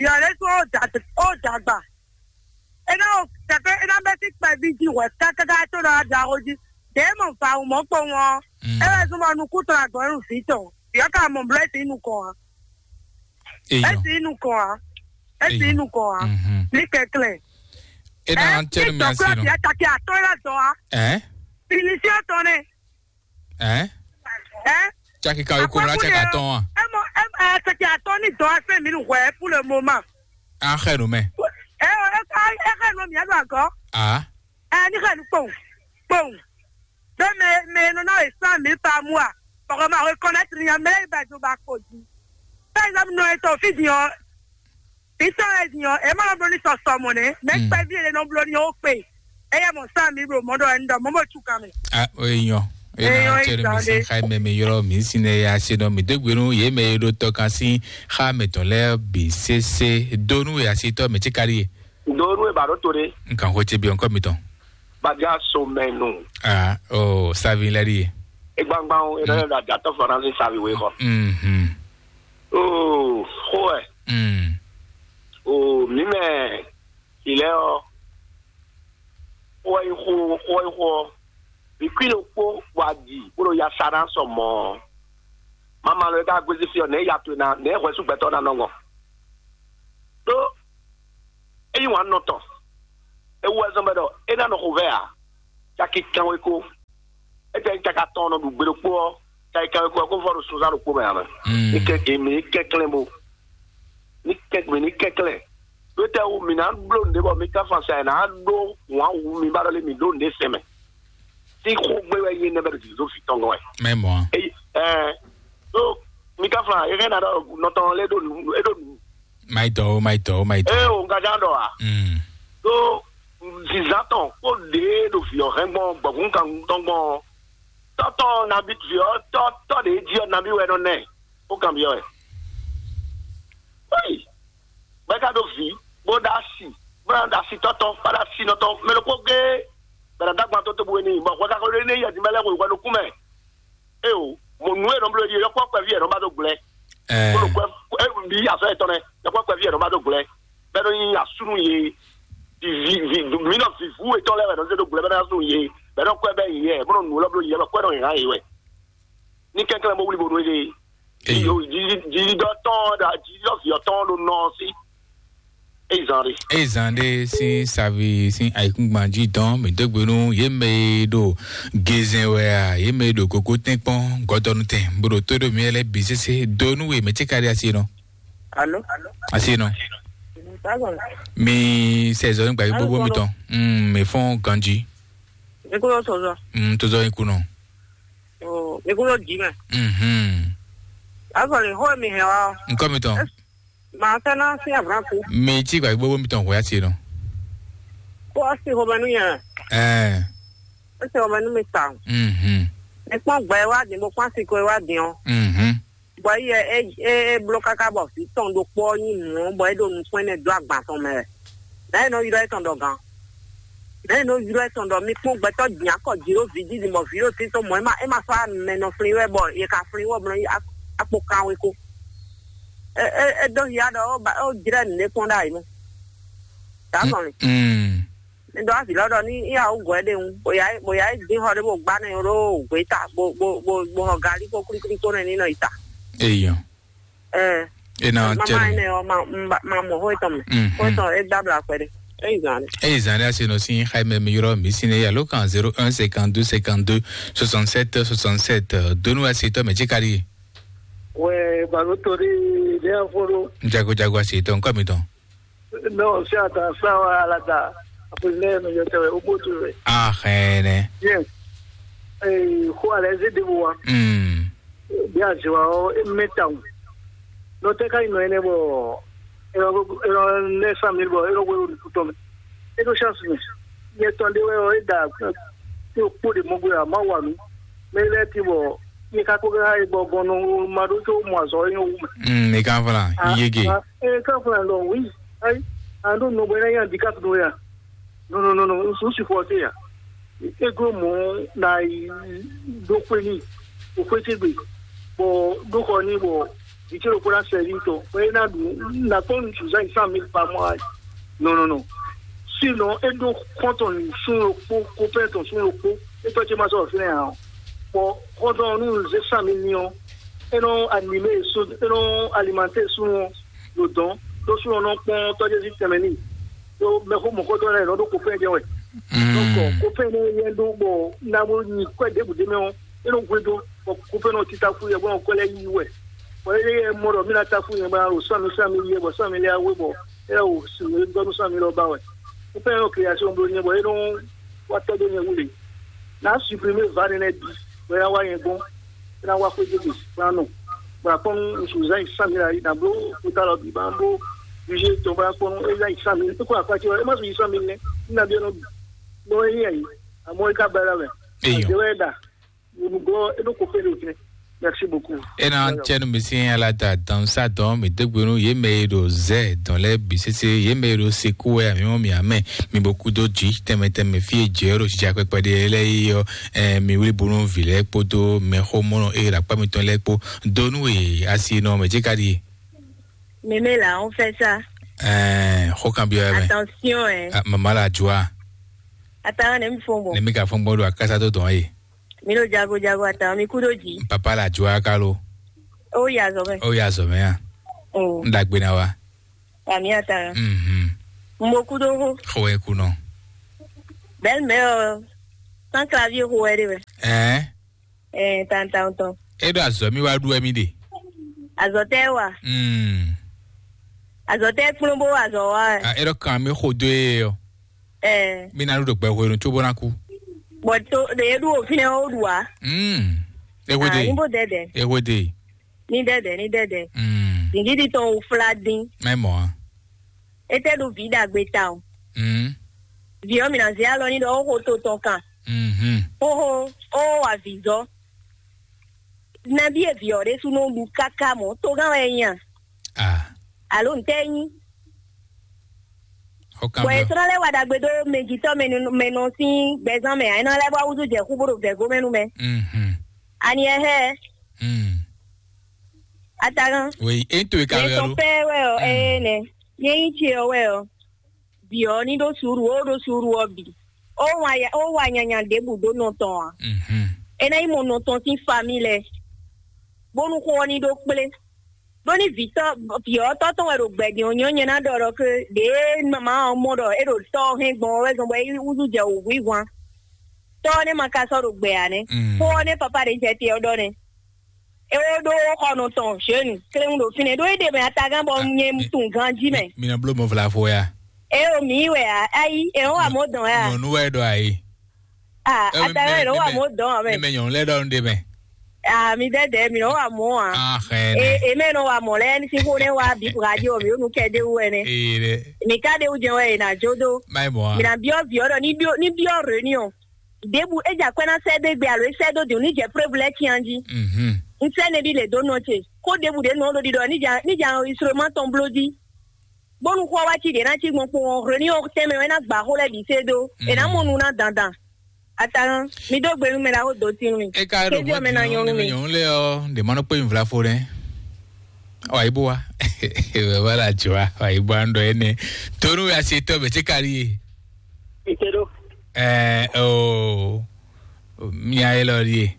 Yɔ ɖésú ó da ó dagba. É ná o kɛkɛ é ná bɛ́ sí kpɛví jí hwɛ kákáká tó ɖɔ ɖaxó jí. Ɖě mɔ va wǔ mɔ̌ kpowun ɔ́, Mm. É wɛ zɔ́n bɔ nukún tɔn agbɔ̌ nú vǐ tɔn. Yɔ ka mɔ blɛ́ sí nukɔn ǎ. Eyɔ. Esi nukɔn a. Esi Eyɔ. Nukɔn a. Mhm. Ní kɛklɛ. E na tse nu mi asi nɔ. Bia taki atɔn la dɔn a. Ɛ? Finisiɔ tɔn nɛ. Ɛ? Ɛ? Tsaki ka ko la tsaki atɔn a. Ɛ mɔ ɛ ɛ tsaki atɔn ni dɔn a fɛ mi nu hwɛ pour le moment. A xɛ nu mɛ. Ɛ ɔ ɛ ɛ xɛ nu mi adu agɔ. A. Ɛ ni xɛ nu kpɔn kpɔn. Ɖó mɛ mɛ e nɔ ná wɛ cent mille par mois, bɔ xɔ ma reconnaître nya mɛ lɛ́ɛ yi ba jo ba kpo jí. Par exemple, nɔ etɔn fí din ɔ́, fí tɔn wɛ din ɔ́, é ma nɔ bló ní sɔsɔ mɔ̌ nɛ́, mɛ Mm. kpɛví e nɔ bló ní ó kpe. Éyɛ́ mɔ cent mille ɖo mɔ̌ ɖɔ ɛni ɖɔ mɔ̌ mɔ cu kan mɛ. A o yi nyɔ. E Eyɔn na tse nu mi si xa mɛ mi ylɔ mi si ne ya se nɔ mi degbe nu ye mɛ ye ɖo tɔ kan si xa mɛ tɔn lɛ bi sese do nu ya si tɔ mɛ tsi kari ye. Ndo nu e ba ɖo to ɖe. N kan xo tse bi ɔnkɔ mi tɔn. Badia so mɛ nu. Ah, oh, savi lɛ ɖi ye. Egbangban o, e nɔ yɔ ɖo adzatɔ fana ni savi we xɔ. Mhm. Oh, xo ɛ. Mm. Oh, mi mɛ ilɛ ɔ. Xo ɛ xo, xo ɛ xo. Mi kui lo kpo wa di, bolo ya sa na sɔ mɔ. Mama lo ka gwezi fi ɔ, ne ya to na, ne hwɛ su gbɛtɔ na nɔ ngɔ. Ɖó eyi wǎn nɔ tɔn. Ewu wɛ zɔn bɛ ɖɔ é ná nɔ xo vɛ ǎ. Caki kanwe ko. Ete caki atɔn nɔ ɖu gbe ɖokpó ɔ́, caki kanwe ko ɔ́, kó vɔ ɖo sunzán ɖokpó mɛ ǎ mɛ. Mm. Ní kɛ gěmí ní kɛnklɛ́n bó. Ní kɛn mǐ ní kɛnklɛ́n. Ɖó tɛ́ wú mǐ ná bló nǔɖé bɔ mí ka fan sa ɛ ná ɖó wǎn wú mi ba ɖɔ lé mǐ ɖó nǔɖé sɛn mɛ. Sín xó gbé wɛ yé nɛ́ bɛ ɖo jǐ ɖo fǐ tɔn gɔ́n wɛ. Mɛ mɔ a? Eyi ɛɛ ɖó mí ka fan é hɛn ná ɖɔ nɔ tɔn lé ɖó nǔ é ɖó nǔ. Mayi dɔ o, mayi dɔ o, mayi dɔ. Ée o un ka ján ɖɔ a? Mm. Ɖó zǐzán tɔn kó ɖě ɖo vǐ ɔ́ hɛn gbɔn gbɔ̌gún kan tɔn gbɔn tɔ́ tɔn nabí vǐ ɔ́ tɔ́ tɔ́ ɖě jí ɔ́ nabí wɛ nɔ nɛ kó kan byɔ́ wɛ. Bɛ́ ka ɖó vǐ, bó ɖó asi, bó ná ɖó asi tɔ́tɔ́, bó ɖó asi nɔtɔ́, mɛ ɖokpó géé, bɔ è nǎ dó agban tó tobu é n'i, bɔ hwɛ ka xo ɖé ní yɛ din bɛ́ lɛ́ xweyǐxwɛ nukún mɛ. Éyo, mo nǔ e nɔ bló é ɖíe, yɔkpɔ́ kpɛví è nɔ ba dó gblɛ́. Bó ɖo kwɛ é bí azɔ̌ yětɔn nɛ́, yɔkpɔ́ kpɛví è nɔ ba dó gblɛ́, bɔ é nɔ nyí asúnú yě. Vivi vi mǐ nɔ vǐvú yětɔn lɛ́ɛ wɛ nɔ zé dó gblɛ́ bɔ é ná súnnu yě, bɔ é nɔ kwɛ bɛ́ yě, bó nɔ nǔ élɔ́ bló yě, bɔ kwɛ nɔ hǎn yě wɛ. Ní kɛnklɛ́n bó wlí bónú é ɖe. Eyi. Jijidɔ tɔn ɔ́ ɖo jijidɔ vǐ ɔ́ tɔn ɔ́ ɖo nɔ ɔ́ sí. Eyi zan ɖe. Eye zan ɖé sín savi sín ayǐkúngban jí dɔn mǐ dó gbe nú yě mɛ e ɖo gezɛn wɛ a, yě mɛ e ɖo koko tɛ́nkpɔ́n gɔdɔnu tɛn bó ɖo tó ɖo mǐ lɛ́ɛ bǐ sésé dó nú we mɛ ce ka ɖe asi nɔ. Alo. Asi nɔ. Sábà. Mi sɛ zɔ nígbà yí gbogbo mi tɔn. Mm, mi fɔn ganji. Mi kúrò sɔzɔ. Mm, tó zɔ yín kú nɔ. Oh, mi kúrò dì mɛ. Mhm. Azɔ le xó mi hɛn wa. Nkɔ mi tɔn. Màá fẹ́ ná sín àbúrákú. Mi tí gbàgbé gbogbo mi tɔn hwɛ asi nɔ. Kó ɔ sí xɔmɛ nú yẹn. Ɛɛ. Ó sì xɔmɛ nú mi ta. Mhm. Mi kpɔn gbɛ wá dín bó kpɔn asi ko wá dín ɔ. Mhm. Bɔ yɛ é é é bló káká bɔ vǐ tɔn ɖokpó ɔ́ nyi nǔ ɔ́ bɔ é ɖo nukún énɛ́ dó agban tɔn mɛ wɛ. Nɛ̌ è nɔ ylɔ́ étɔn ɖɔ gǎn? Nɛ̌ è nɔ ylɔ́ étɔn ɖɔ mi kpɔn gbɛtɔ́ din akɔ jǐ ɖo vǐ jí din bɔ vǐ ɖo títɔn mɔ̌ é ma é ma sɔ́ amɛ nɔ flín wɛ bɔ è ka flín wɔ mlɔ akpo kanwe ko? É é é dó hiá ɖɔ ó ba ó jlɛ́ nǔɖé kpɔ́n ɖ'ayǐ mɛ. Dǎ zɔn mi. Mm. Mi ɖɔ avǐ lɔ ɖɔ ní í awú gɔ̌ ɖe ŋu, bó yá bó yá dín xɔ ɖé bó gbá nɛ ɖó gběta bó bó bó bó xɔ galí kpó klíklí kpó nɛ ní nɔ yi ta. Eyɔ. Ɛɛ. E na Mama tɛnu. Ene ɔ ma ma ma mɔ xó etɔn mɛ. Mhm. Xó etɔn e gbabla kpɛ ɖe. Eyi zan ɖe. Eyi zan ɖe ase nɔ sin xayi mɛ mi yrɔ mi sin ne alo kan zéro un cinquante-deux cinquante-deux soixante-sept soixante-sept. Donu ase tɔ mɛ tsi kari. Wɛ balo tori ɖe aforo. Jago jago ase tɔ nkɔ mi tɔn. Non, c'est à ta ça, à la ta. Après, les, mais je te vais au bout, tu veux. Ah, rien. Bien. Eh, quoi, les aider, moi. Hmm. Bien, je vois, et maintenant. Non, t'es quand il m'a aimé, bon. Et on, et on, les cent mille, bon, et on, on, on, et on, chance, mais. Il est tombé, ouais, ouais, d'accord. Et au bout de mon gouvernement, ouais, nous. Mais là, tu vois, il est capable de, bon, bon, non, m'a dit, au moins, ça, il y a un. Hmm, mais quand voilà, Ah, il y est gay. Ah, eh, quand voilà, non, oui. Ayi, a ɖo nɔgbɛ na nyi handicap ɖo ya. Non, non, non, non, n supporter ya. Ego mɔ na yi ɖo xwe ni, o xwe ce gbe, bɔ ɖo xɔ ni bɔ vite ɖokpó na sɛvi tɔ, bɔ e na ɖu na kpɔn nu zan cent mille par mois. Non, non, non. Sinon, e ɖo kɔntɔn sun ɖokpó, kopɛ tɔn sun ɖokpó, e tɔ ce ma sɔ fínɛ ya o. Bɔ kɔntɔn nu zé cent mille ni ɔ, e nɔ animé sun, e nɔ alimenté sun ɔ. Ɖo dɔn ɖó sú nɔ kpɔn tɔjɛzi tɛnmɛ n'i ɖó mɛxó mɔ̌kɔtɔn lɛ́ɛ nɔ ɖó kofɛn jɛ wɛ. Donc kofɛn nɛ yɛ ɖó bɔ nabo nyi kwɛ ɖěbǔ ɖé mɛ ɔ́, é nɔ hwedó bɔ kofɛn nɔ tita fú yɛ bɔ nɔ kwɛ lɛ́ yí wɛ. Bɔ é yɛ mɔ ɖɔ mí ná ta fú yɛ bɔ ná ɖo sɔ́ mi sɔ́ mi yɛ bɔ sɔ́ mi lɛ́ wé bɔ é lɛ́ wo sǐn e gɔ́ nú sɔ́ mi lɔ ba wɛ. Kofɛn nɔ keyasi ɔ́ bló nyɛ bɔ é nɔ wá tɔ́ dó nyɛ wú lě. Ná supprimer va nɛnɛ bǐ bɔ é ná wá nyɛ gɔ́n. É ná wá xwé gěgé bó ná nɔ. Bɔ akpɔ́nú ŋsu zán yi sán mǐ ɖo ayǐ ná bló xwéta lɔ bǐ bá bló bíbí tɔn bó ná kpɔ́nú é zán yi sán mǐ. É kó akpá ce wɛ, é má su yi sán mǐ nɛ́. Ní nabí é nɔ nɔ é yí ayǐ. Àmọ́ é ká bɛ́ lɛ́ mɛ. Eyɔ. Àjẹwẹ́ ɖa. Nǔgbọ́ é ɖó kó fé ɖo jɛ. Merci beaucoup. Ena tiɛnu mi sin ala da dan sa dɔn mi degbe nu ye mɛ e ɖo zɛ dɔn lɛ bi sese ye mɛ e ɖo seku wɛ ami mɔ mi amɛ mi bo kudo dzi tɛmɛ tɛmɛ fi e jɛ ɖo sija kpɛkpɛ ɖe lɛ yi yɔ. Ɛ mi wuli bunu vi lɛ kpodo mɛ xo mɔnɔ e ɖo akpa mitɔn lɛ kpo donu e asi nɔ mɛ dzi ka ɖi. Mémé là, on fait ça. Ɛ xo kan bi yɔ mɛ. Attention, hein. Mama la joie. Attends, ne mi fo bon. Ne mi ka fo bon do akasa do dɔn ye. Mi ɖo jago jago atan mi kú ɖo dzi. Papa la jua kalo. Ó yi azɔ̌ mɛ. Ó yi azɔ̌ mɛ a? Mm. N ɖagbe na wa. Ami atan. Mhm. Mo kú ɖo xó. Xɔ wɛ kú nɔ. Belle mère, euh, sans clavier xó wɛ ɖe wɛ. Ɛɛ. Ɛɛ, tan tan tɔn. E ɖo azɔ̌ mi wa ɖu wɛ mi ɖe. Azɔ̌ tɛ wa. Mm. Azɔ tɛ kplɔn bó azɔ wa. A, e ɖɔ kan mi xo do ye yɔ. Ɛ. Mi na ɖu ɖo gbɛ hwenu tso bó na kú. Bɔ to ɖe e ɖu o fínɛ o ɖu wa. Mm. E hwe de. Ni bó dɛdɛ. E hwe de. Ni dɛdɛ, ni dɛdɛ. Mm. Zingidi tɔn o fla dín. Mɛ mɔ a. E tɛ ɖu vi ɖagbe ta o. Mm. Vi ɔ mi na zé alɔ ni ɖɔ o xo to tɔn kan. Mhm. Oho, o wa vǐ zɔ. Nabí e vǐ ɔ́ ɖésú nɔ ɖu káká mɔ̌, togán wɛ é nya. Ah. Alo ntɛ́ é nyí? Ó kán Bɔ byɔ́. È sɔ́ ná lɛ́ wa ɖagbe dó mɛjitɔ́ mɛ nɔ sín gbɛzán mɛ ǎ, é ná lɛ́ wá wúzú jɛ xú bó ɖo vɛ̌go mɛ nú mɛ. Mhm. Ani ɛ hɛ́? Mm. Atagán. Oui, é ń to é ka Mɛ wɛ sɔn lo. Pɛ́ wɛ ɔ, Mm. Ee nɛ. Nyɛ nyí ce ɔ wɛ ɔ. Bǐ ɔ́ ní ɖó suúlu, ó ɖó suúlu ɔ́ bǐ. Ó wa ya- ó wa nyanya ɖěbǔ dó nɔ tɔn ǎ. Mhm. É ná nyí mɔ nɔ tɔn sín famí lɛ́ɛ, bónú xó ɔ́ ní ɖó kplé. Ɖó ní vǐ tɔn vǐ ɔ́ tɔ́ tɔn wɛ ɖo gbɛ̌ din ɔ́, nyɔ̌ nyɛ ná ɖɔ ɖɔ ké ɖěe mama ɔ́ mɔ ɖɔ é ɖo tɔ́ ɔ́ hɛn gbɔn ɔ́ wɛ zɔn bɔ é wúzú jɛ wǔhwíhwan. Tɔ́ ɔ́ nɛ́ ma ka sɔ́ ɖo gbɛ ǎ nɛ́. Mm. Xó ɔ́ nɛ́ papá ɖě jɛ te ɔ́ ɖɔ nɛ́. É wó ɖó xɔnu tɔn Jeune kléwún ɖo fínɛ́ ɖó é ɖe mɛ atagán bɔ Ah, nyɛ mi- tunwun ganjí mɛ. Mi nɔ bló mɔ vlavo ya. É o mǐ wɛ a ayi é wọ́n wà mɔ dɔn ya. Nyɔnu wɛ ɖɔ ayi. Ah, Ɛ, atagán mi- é ló wà mi- mɔ dɔn mɛ. Mi mɛ nyɔnu lɛ ɖɔ nu ɖe mɛ. Ah, mi dɛdɛ mi nɔ wà mɔ a. Ah, xɛ E nɛ. E mɛ nɔ wà mɔ lɛ ní sín xó nɛ wà bí radio mi ó nu kɛ dé wú wɛ nɛ. Ee dɛ. Mi ka dé wú jɛ wɛ e na jó dó. Má yi mɔ a. Mi na biɔ viɔ ɖɔ ní biɔ ní biɔ réunion. Ɖěbǔ é jɛ akwɛ́ ná sɛ́ dó égbé alo é sɛ́ dó dǐn ní jɛ preuve lɛ́ɛ cyán jí. Mhm. Un sɛ́ nɛbí lě dó nɔ ce. Xó ɖěbǔ ɖě nɔ ɖo ɖiɖɔ ní jɛ ní jɛ enregistrement tɔn bló jí. Bónú xó ɔ́ wá cí ɖě ná cí gbɔn kpowun ɔ́, hwenu ɔ́ tɛnmɛ wɛ ná gba xó lɛ́ɛ bǐ sé dó. È nǎ mɔ nu ná dandan. Atahán, mi dó gbe nú mɛ ɖaxó dó tín mì. É ka ɖo Kézí ɔ́ mɛ ná nyɔ́ nú mi. Nyɔ̌nu lé ɔ́, ɖě ma nɔ kpé mi vlafo nɛ́. Ɔ, ayí bó wa. Bàbá la jɔ wa, ayí bó wa ń ɖɔ énɛ́. Tónú ya se tɔ́ bɛ̌ tí ka ɖíe. Ìtẹ́dó. Ɛ o, mia é lɔ ɖíe.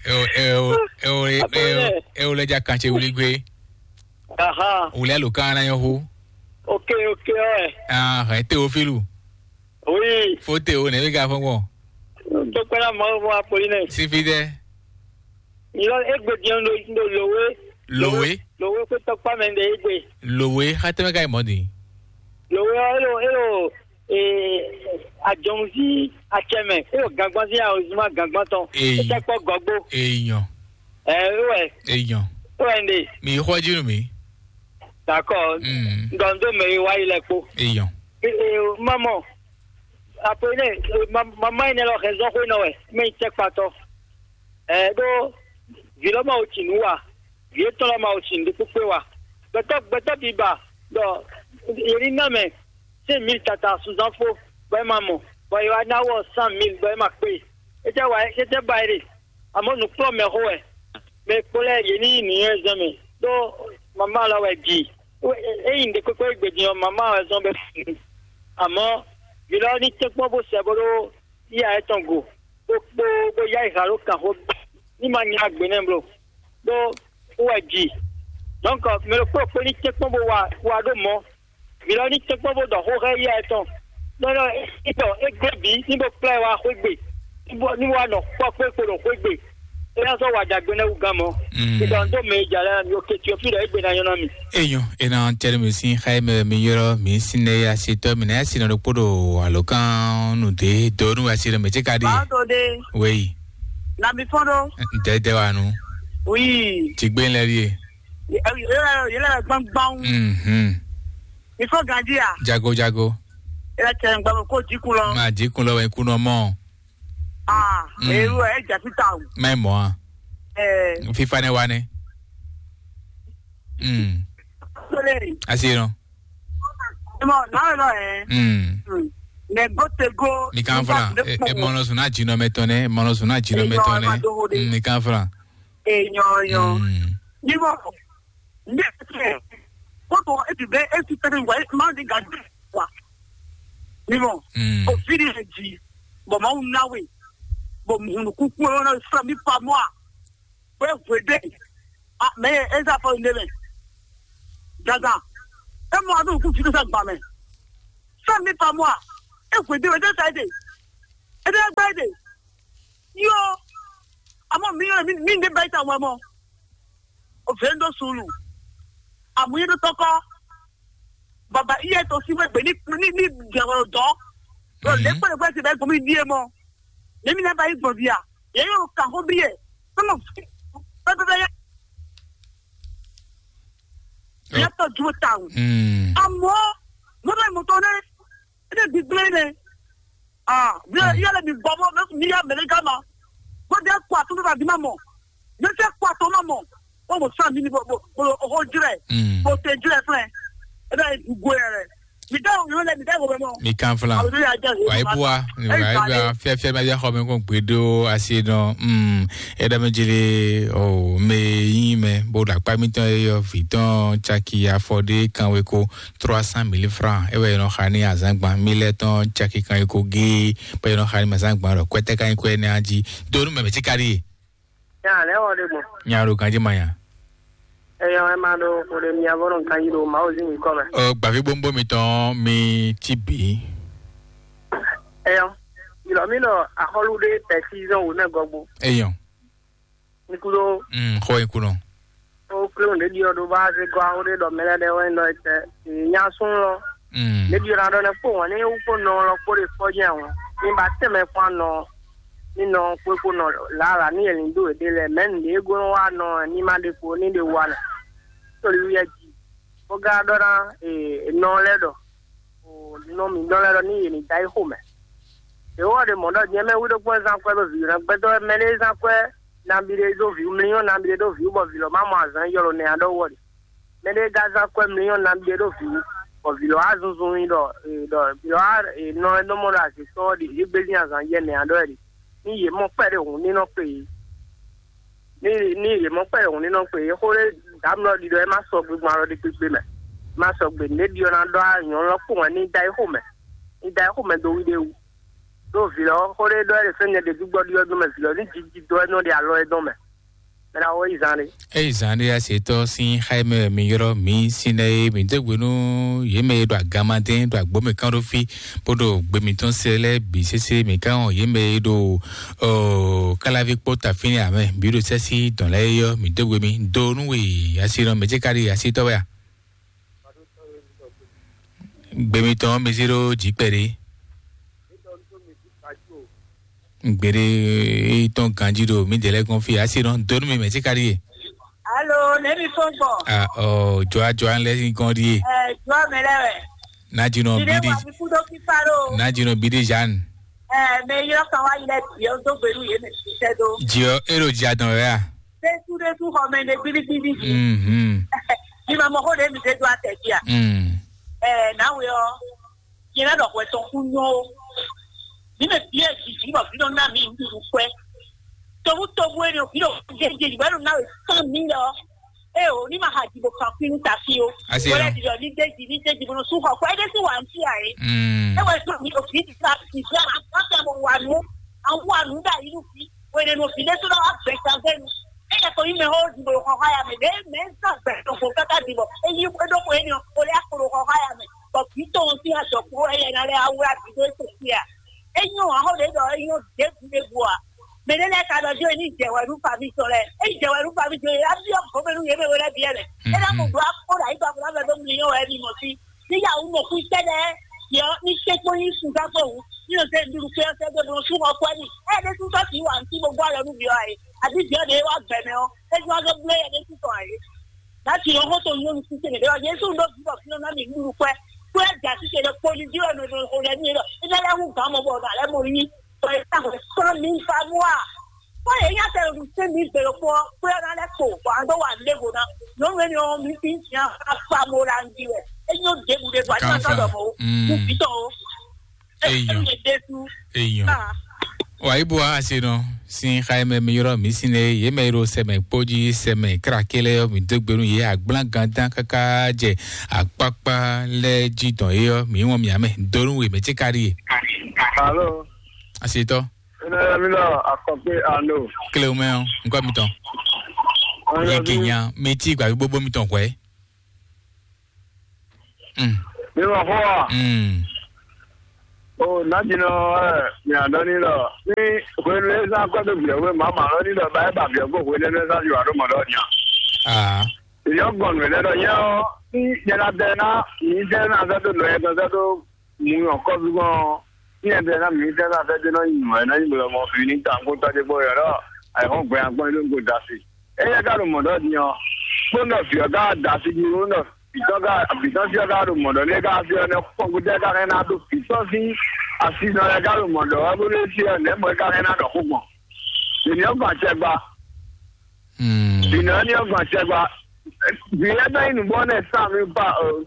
Eo eo eo eo eo lɛ ja kan ce wuli gbe. Aha. Wuli alo kan na yɔ hu. Ok, ok, ɔɛ. Ah, ɛ Teofilu. Oui. Fo Teo ne bi ka fɔn gbɔn. Tó kpɛlɛ mɔ mɔ akpoli nɛ. Sifi dɛ. Nyilɔ egbe diɛ ndo ndo lowe. Lowe. Lowe kó tɔkpa mɛ nde egbe. Lowe, xa tɛmɛ ka yi mɔ di. Lowe ɔ elo elo ee, adzɔnzi atsɛmɛ, eye o gangbazin a o zuma gangbantɔ. Eyi. Etsɛ kpɔ gɔgbo. Eyi nyɔ. Ɛ ewɛ. Eyi nyɔ. Ewɛ nde. Mi xɔ dzi nu mi. Dakɔ. Mm. Ndɔndo mɛ yi wa yi lɛ kpo. Eyi nyɔ. Ee, mamɔ. Apo ne mama yi ne lɔ hɛn zɔn xwe nɔ wɛ, mɛ yi tɛ kpatɔ. Ɛ ɖo vi lɔ ma wo tsi nu wa. Vǐ étɔn lɛ́ɛ ma wo sin ɖé kpékpé wa. Gbɛtɔ́ gbɛtɔ́ biba ɖɔ yě ní ná mɛ cinq mille tata sunzán fó bɔ é ma mɔ, bɔ è wá ná wɔ cent mille bɔ é ma kpé. É tɛ wa é tɛ ba é ɖe. Àmọ́ nǔkplɔ́nmɛxó wɛ. Mɛ e kpo lɛ́ɛ yě ní yi nǔnywɛ́zɔn mɛ ɖó mamá lɔ wɛ ji. É yi nǔɖé kpékpé gbe din ɔ́, mamá wɛ zɔn bɛ. Àmọ́ vǐ lɔ ní tɛ́nkpɔ́n bó sɛ bó ɖó yíyá étɔn go, bó kpó bó yá yi ha ɖó kanxó ní ma nya gbe nɛ́ blo, ɖó wú wɛ ji. Donc mɛ ɖokpó ɖokpó ní tɛ́nkpɔ́n bó wa wa ɖó mɔ̌, vǐ lɔ ní tɛ́nkpɔ́n bó ɖɔ xó xá yíyá étɔn. Nɔ́ nɔ́ é ɖɔ é gblé bǐ ní bó kplá ɛ wá xwé gbe, ní bó ní wá nɔ kpɔ́ kpé kpo ɖo xwé gbe. É ná sɔ́ wa ɖagbe nɛ́ wú gán mɔ̌. Mm. È ɖɔ dó mɛ e jà lɛ́ɛ mi, oke Tiofílu ɔ́, é gbe ná nyɔ́ ná mi. Enyɔ ena tɛlɛ mi sin xayi mɛ mi yɔrɔ mi sin ne ya si tɔ mi na ya si nɔ ɖokpo ɖo alo kan nu de do nu wa si ɖe mɛ tse ka ɖi. Báwo tó dé? Wei. Na mi fɔn ɖó. Ntɛ tɛ wa nu. Oui. Ti gbé lɛ ɖi. Yɛlɛ gbangban. Mhm. Mi fɔ ganji ya. Jago jago. Yɛlɛ tɛ gbàgbọ́ kó jikun lɔ. Ma jikun lɔ wɛ kunɔ mɔ. Ah, Mm. Ewu ɛ ja fita o. Mɛ mɔ a. Ɛ. Fifa ne wa ne. Mm. Sole. Asi no. Mɔ na lɔ ɛ. Mm. Mɛ go te go. Mi kan fla. E mɔnɔ suna jinɔ mɛ tɔn ne, mɔnɔ suna jinɔ mɛ tɔn ne. Mm, mi kan fla. E nyɔ nyɔ. Mm. Ni mɔ. Ndé kótó ebi bɛ esi tɛnɛ wa ma di ga wa. Ni mɔ. Mm. O fi di ɛ ji. Bɔn ma wu na we. Bɔn mu nu kuku ɛ na sra mi pa mɔ a. Bɛ hwe de. A mɛ eza fɔ ne mɛ. Gaza. E mɔ a nu kuku fi sa gba mɛ. Sra mi pa mɔ a. E hwe de wɛ de sa de. E de gba de. Yo. Amɔ mi yɔ mi mi ne ba ta wa mɔ. O vendo sulu. Amuyé ɖo tɔkɔ. Baba iye to si wegbe ni ni ni jɛwɛ dɔ. Lo le kpele gbe ti bɛ gomi die mɔ. Ne mi na ba yi gbɔn dia. Ye yo ka ho bie. Sɔmɔ. Bɛ bɛ bɛ ya. Ya to ju ta o. Amɔ mo bɛ mo to ne. Ne bi gble ne. Ah, bi ya le bi gbɔ mo mi ya mele gama. Ko de kwa to ba bi ma mɔ. Ne se kwa to ma mɔ. Ko mo sa mi ni bo bo bo ho jire. Bo te jire fle. E bɛ du gwe yɛrɛ. Mi da o yɛrɛ mi da o bɛ mɔ. Mi kan flan. Wa yi bua, wa yi bua, fia fia ma bia xɔ mi ko gbe do asi nɔ. Mm. E da mi jili o me yi me bo da kpa mi tɔn e yɔ vi tɔn caki afɔ de kan we ko trois cent mille francs. E wɛ nɔ xa ni azangban mi lɛ tɔn caki kan we ko ge. Pe nɔ xa ni azangban lɔ kwɛtɛ kan ko ne aji. Do nu mɛ mɛ ti kari. Ya lɛ wɔ de gbɔn. Nya ɖo ganji ma nya. Eyɔ ɛ ma ɖo xo ɖe mia vɔ nɔ ganji ɖo Mawu zin mi kɔ mɛ. Ɔ gbavi bombo mi tɔn mi ti bi. Eyɔ, ilɔ mi nɔ axɔlu ɖe pɛsi zɔn wò nɛ gɔgbo. Eyɔ. Nikudo. Mm, xɔ ikunɔ. O klo ɖe ɖiɔ ɖo ba se gɔ awo ɖe ɖɔ mɛ lɛ ɖe wɛ nɔ tɛ. Nya sun lɔ. Mm. Ɖe ɖiɔ na ɖɔ ne kpo wɔn ne wu kpo nɔ lɔ kpo ɖe kpɔ jɛ wɔn. Mi ba tɛmɛ kpɔn nɔ. Ni nɔ kpo kpo nɔ lala ni yɛlin do ɖe lɛ mɛ nu ɖe go wa nɔ ni ma ɖe kpo ni ɖe wa nɛ. Toli wi yɛ ji. Ko ga ɖɔ na nɔ lɛ ɖɔ. Nɔ mi dɔn lɛ ɖɔ ni yɛ ni da yi xo mɛ. Yehowa ɖe mɔ̌ ɖɔ nyɛ mɛ wí ɖokpó zán kwɛ́ ɖo vǐ ná gbɛdɔ mɛ ɖé zán kwɛ́ nabí ɖé ɖó vǐ mlínyɔ́ nabí ɖé ɖó vǐ bɔ vǐ lɔ má mɔ azǎn ylɔ́ nɛ aɖɔ́ wɔ ɖe. Mɛ ɖé ka zán kwɛ́ mlínyɔ́ nabí ɖé ɖó vǐ bɔ vǐ lɔ wá zunzun nyi ɖɔ ɖɔ vǐ lɔ wá nɔ e nɔ mɔ ɖo azǐn tɔn ɔ́ ɖi yě gbezín azǎn yɛ nɛ aɖɔ́ wɛ ɖe. Ní yě mɔ kpɛɖé hǔn ní nɔ kpe yě. Ní ní yě mɔ kpɛɖé hǔn ní nɔ kpe yě xó ɖé dǎmlɔ ɖiɖɔ é má sɔ gbegban alɔ ɖi kpekpe mɛ. Má sɔ gbe nǔɖé ɖiɔ ná ɖɔ nyɔ̌nu lɔ kpɔ́n wɛ ní da é xo mɛ. Ní da é xo mɛ dó wí ɖé wú. Ɖó vǐ lɔ xó ɖé ɖɔ é ɖe fɛ́n nyɛ ɖeví gbɔ ɖiɔ dó mɛ vǐ lɔ ní jiji dó é nɔ ɖe alɔ é dɔn mɛ. Mɛ ná wɔ yi zan ɖé. Eyi zan ɖé asetɔ sín xá e mɛ wɛ mi ylɔ́ mǐ sín lɛ́ɛ é, mǐ dó gbe nú yě mɛ e ɖo aganmadɛ́n ɖo agbǒmɛ kán ɖó fí bó ɖo gbe mǐtɔn se lɛ́ɛ bǐ sésé. Mǐ ká wɔn yě mɛ e ɖo káláví kpó tafínɛ amɛ bǐ ɖo sɛ́sí dɔn lɛ́ɛ é ɔ́, mǐ dó gbe mì do nú we asi nɔ mɛ ce ka ɖi asitɔ́ wɛ a? Gbe mitɔn mi zé ɖó jǐ kpɛɖé. Gbeɖé tɔn ganjí ɖo mǐdɛɛ lɛ́ɛ gɔ́n fí asi nɔ do nú mi mɛ ce ka ɖi e? Alo, nɛ̌ mi fɔ́n gbɔn? Ah, ɔ, jɔa jɔa lɛ́ɛ sín gɔ́n ɖíe. Ɛ, jɔa mɛ lɛ́ɛ wɛ. Nájínɔ Ìdè bídí wà mí kú dó kíkà ló. Nájínɔ bídí Jeanne. Ɛ, mɛ yɔ kan wá yilɛ bìyɔ dó gbèlú yé mɛ sisẹ́ dó. Jìɔ é ɖo jì adɔn wɛ a? Détú détú xɔ mɛ ne gbídígbídí. Mhm. Ní ma mɔ xó ɖé mi dé dó atɛ jí a? Mm. Ɛ, náwé ɔ, yẹn lɛ ɖɔ hwɛ tɔn kú nyɔ ó. Ní mɛ bíyɛ jìjì bɔ bí nɔ ná mi nɖuɖu kwɛ. Tobu tobu eni o, bí nɔ jẹjẹ ìgbà nɔ ná wɛ sán mi lɛ ɔ. E o, ní ma ha jì bò kan fínú ta fí o. Asi wọlé nɔ. Dìdɔ ní déjì ní déjì bò nɔ sún xɔ kɔ é dé sí wà ń fí àyè. Mm. E wɛ sún mi òfin ti ta ti fi àwọn kan tẹ mo wà nù. Àwọn wà nù dà yìí nù fi. Wèrè nù òfin dé sún náà wà gbẹ kan fẹ́ mi. E yẹ kò yí mẹ hó dìbò xɔ xɔ ya mẹ dé mẹ ń sàn gbẹ tó fò káká dìbò. E yí kó dó kò é ni o, kò lè akoro xɔ xɔ ya mɛ. Bɔ kì í tó ohun tí a sọ kúrò ẹyẹ náà lẹ awúrà bìdó ètò sí à. E yí o, àwọn lè dọ̀ e yí o dé bu dé bu à. Mɛ ɖé lɛ́ɛ ka ɖɔ jó ní jɛ wɛ nú faví tɔn lɛ́ɛ. É jɛ wɛ nú faví tɔn lɛ́ɛ, á byɔ́ gǒmɛ nú yě mɛ we lɛ́ɛ bǐ wɛ mɛ. É ná mɔ ɖó akpó ɖo ayǐ gbàgbọ́ ná vɛ dó mliyɔ́ wɛ ní mɔ sí. Ní yahoo mɔ kú sɛ́ lɛ́ɛ, yɔ ní sɛ́ kpó ní sun gán kpó wú. Ní nɔ sɛ́ nɖúɖu kpé ɔ́ sɛ́ dó bló sú xɔ kú ɛ́ nì. Ɛ ɖé sú sɔ́ sǐ wǎ ntí bó gbɔ ayɔ nú byɔ́ ayé. Àbí byɔ́ ɖě wá gbɛ mɛ ɔ́, é zɔ́n á dó bló yɛ ɖé sú tɔn ayé. Nǎ ti ɔ́ xó to nyɔ́nu sísè ɖé ɔ́, Jezu ɖó vǐ bɔ fínɛ́ ná mi nɖúɖu kpɛ́. Kpɛ́ ja sísè ɖé kpó ní jí wɛ nɔ xo lɛ́ ní é ɖɔ é ná lɛ́ hú gǎn mɔ bɔ nǎ lɛ́ mɔ yí. Bɔ é ná hwɛ sán mi fa mú a? Kpɔ́ yě nya tɛ ɖo sɛ́n mi gbé ɖokpó ɔ́, kpé ɔ́ ná lɛ́ kpo, bɔ a dó wa nǔ ɖěvo ná. Nyɔ̌nu énɛ́ ɔ́, mi sín nya afa mo ɖa njí wɛ. É nyɔ́ ɖěbǔ ɖěbǔ, a ní ma sɔ́ ɖɔ mɔ̌ ó. Kú vǐ tɔn ó. Eyɔn. Eyɔn. Wa yi bo wa ase nɔ sin xa yi mɛ mi yrɔ mi sin ne ye mɛ yrɔ sɛmɛ kpodzi sɛmɛ krakele yɔ mi dogbe nu ye agblã gandan kaka jɛ akpakpa lɛ ji dɔn ye yɔ mi wɔn mi amɛ donu we mɛ tsi kari ye. Alo. Asetɔ. Ene mi lɔ akɔkpe ando. Kile mɛ o nkɔ mi tɔn. Ye kenya mi ti gba gbogbo mi tɔn kɔɛ. Mm. Mi ma fɔ wa. Mm. O na dzi nɔ ɛ mi adɔ ni lɔ ni hwenu e zan kɔ do biɛ hwe ma ma lɔ ni lɔ ba e ba biɛ ko hwenu e zan ju alo mɔ lɔ nya. Ah. Èyí ɔ́ gbɔn nǔ lɛ́ɛ ɖɔ nyɛ ɔ́, ní nyɛ ná bɛ́ ná mǐ sɛ́ ná sɛ́ dó nǔ ɛ sɛ́ dó mǔ nyɔ̌kɔ́ví gbɔn ɔ́, ní nyɛ bɛ́ ná mǐ sɛ́ ná sɛ́ dó nɔ nyi nǔ ɛ nɔ nyi blɔmɔ fi ní ta kó tɔ́ ɖé gbɔ yɔ̌ ɖɔ ayǐhɔ́ngbe agbɔ́n é ɖó nǔ da si. Éyɛ́ ka ɖo mɔ̌ ɖɔ din ɔ́, kpónɔ vǐ ɔ́ ka da si jí kpónɔ vǐtɔ́ ka vǐtɔ́ fí ɔ́ ka ɖo mɔ̌ ɖɔ lé ka fí ɔ́ nɛ́ kpɔ́n gúdú ɛ ka hɛn ná ɖo vǐtɔ́ sín asinɔ lɛ́ɛ ka ɖo mɔ̌ ɖɔ wɛ bó ɖó fí ɔ́ nɛ̌ mɔ̌ é ka hɛn ná ɖɔ xó gbɔn. Ènìyàn gbà tẹ gba. Ìnáwó ní ọgbọ̀n ṣẹgba. Bí ẹ bá yín nùbọ́ náà sá mi bá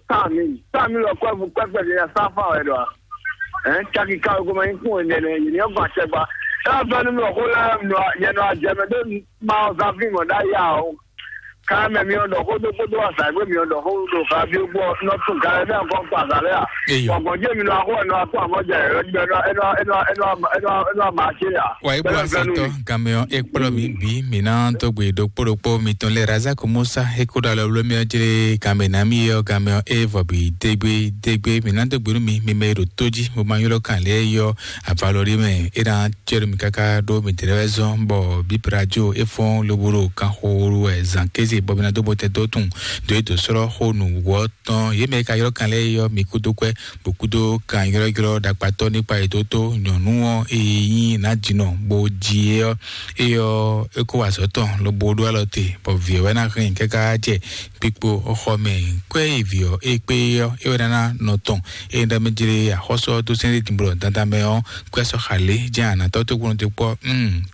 sá mi sá mi lọ kọ́ ẹ̀fún pẹ́pẹ́ ní ẹ sá fà ẹ̀ dọ̀. Ẹ̀ ń ṣáàkì ká ogun máa ń kún ẹ̀ nẹ̀nẹ̀ yìí ní ọgbọ̀n ṣẹgba. Ẹ bá fẹ́ nínú ọkọ lẹ́nu yẹnu àjẹmẹ tó máa ń sá fíìmù ọ̀dá yà ó. Ká mẹ mi ọ̀dọ̀ kó tó kó tó wà sàgbé mi ọ̀dọ̀ kó tó fà bí ó gbọ́ nọ́tún ká ẹ bẹ́ẹ̀ kọ́ pa àgàlẹ́ à. Eyɔ. Ọ̀gbọ̀n jẹ́ mi lọ akó ẹ̀nà akó àmọ́jà ẹ̀rọ ẹ̀nà ẹ̀nà ẹ̀nà ẹ̀nà ẹ̀nà ẹ̀nà àmà ṣe à. Wa ibo asatɔ gamɛ ɔ ekplɔ mi bi mi na to gbe ɖokpo ɖokpo mi tɔn lɛ Razak Musa eko ɖo alɔ blo mi ɔ jere gamɛ na mi ɔ gamɛ ɔ e vɔ bi degbe degbe mi na to gbe nu mi mi mɛ ɖo to ji mo ma ylɔ kan lɛ yɔ avalɔ ɖe mɛ e na tsɛ ɖo mi kaka ɖo mi tɛnɛ wɛ zɔn bɔ bi prajo e fɔn lobo ɖo kan xo wɛ zan keze bɔ mi na do bɔ tɛ do tun do e do srɔ xo nu wɔ tɔn ye mɛ ka ylɔ kan lɛ yɔ mi kudo kwɛ bó kúdó kan ylɔ́ylɔ́ ɖakpatɔ́ nípa ètò tó nyɔ̌nu ɔ́ e nyí nǎjínɔ bó jí é ɔ́, é ɔ́, é kó wá azɔ̌ tɔn lobo ɖó alɔ te, bɔ vǐ ɔ́ wɛ ná hɛn káká jɛ kpikpo xɔ mɛ. Kwɛ́ e vǐ ɔ́ é kpé é ɔ́, é wɛ ná ná nɔ tɔn. É ɖɔ mɛ jlé axɔ́sú ɔ́ dó sɛ́n ɖé dǐnblɔ dandan mɛ ɔ́, kwɛ́ sɔ́ xa lě jɛ́n anatɔ́ tó gbónú dé kpɔ́,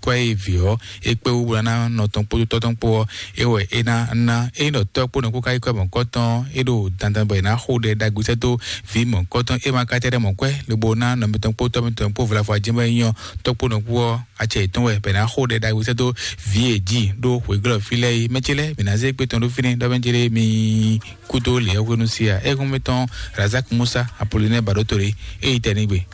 kwɛ́ e vǐ ɔ́ é kpé wú bó ná ná nɔ tɔn kpódó tɔ́ tɔn kpó ɔ́, é wɛ é ná ná. Ényí ɖɔ tɔ́ kpó nɔ kó ká yi kɔ mɔ̌kɔtɔn, é ɖo dandan bɔ è nǎ xo ɖɛ ɖagbe sɛ́ dó vǐ mɔ̌kɔtɔn. É ma ka tɛ ɖɛ mɔ̌ kwɛ́ lobo ná nɔ mitɔn kpó tɔ́ mitɔn kpó vlafɔ ajɛmɛ nyɔ tɔ́ kpó nɔ kú ɔ́, acɛ yětɔn wɛ bɔ è nǎ xo ɖɛ ɖagbe sɛ́ dó vǐ e jí ɖó hwěglɔ́ fí lɛ́ɛ yi. Mɛ ce lɛ́ɛ, mǐ ná zé gbé tɔn ɖó fínɛ́ ɖɔ mɛ ce lɛ́ɛ mi kúdó lě ɔ́ hwenu sí a? É hɔn mɛ tɔn Razak Musa Apolinɛ Baɖótole é yi tɛ nígbe.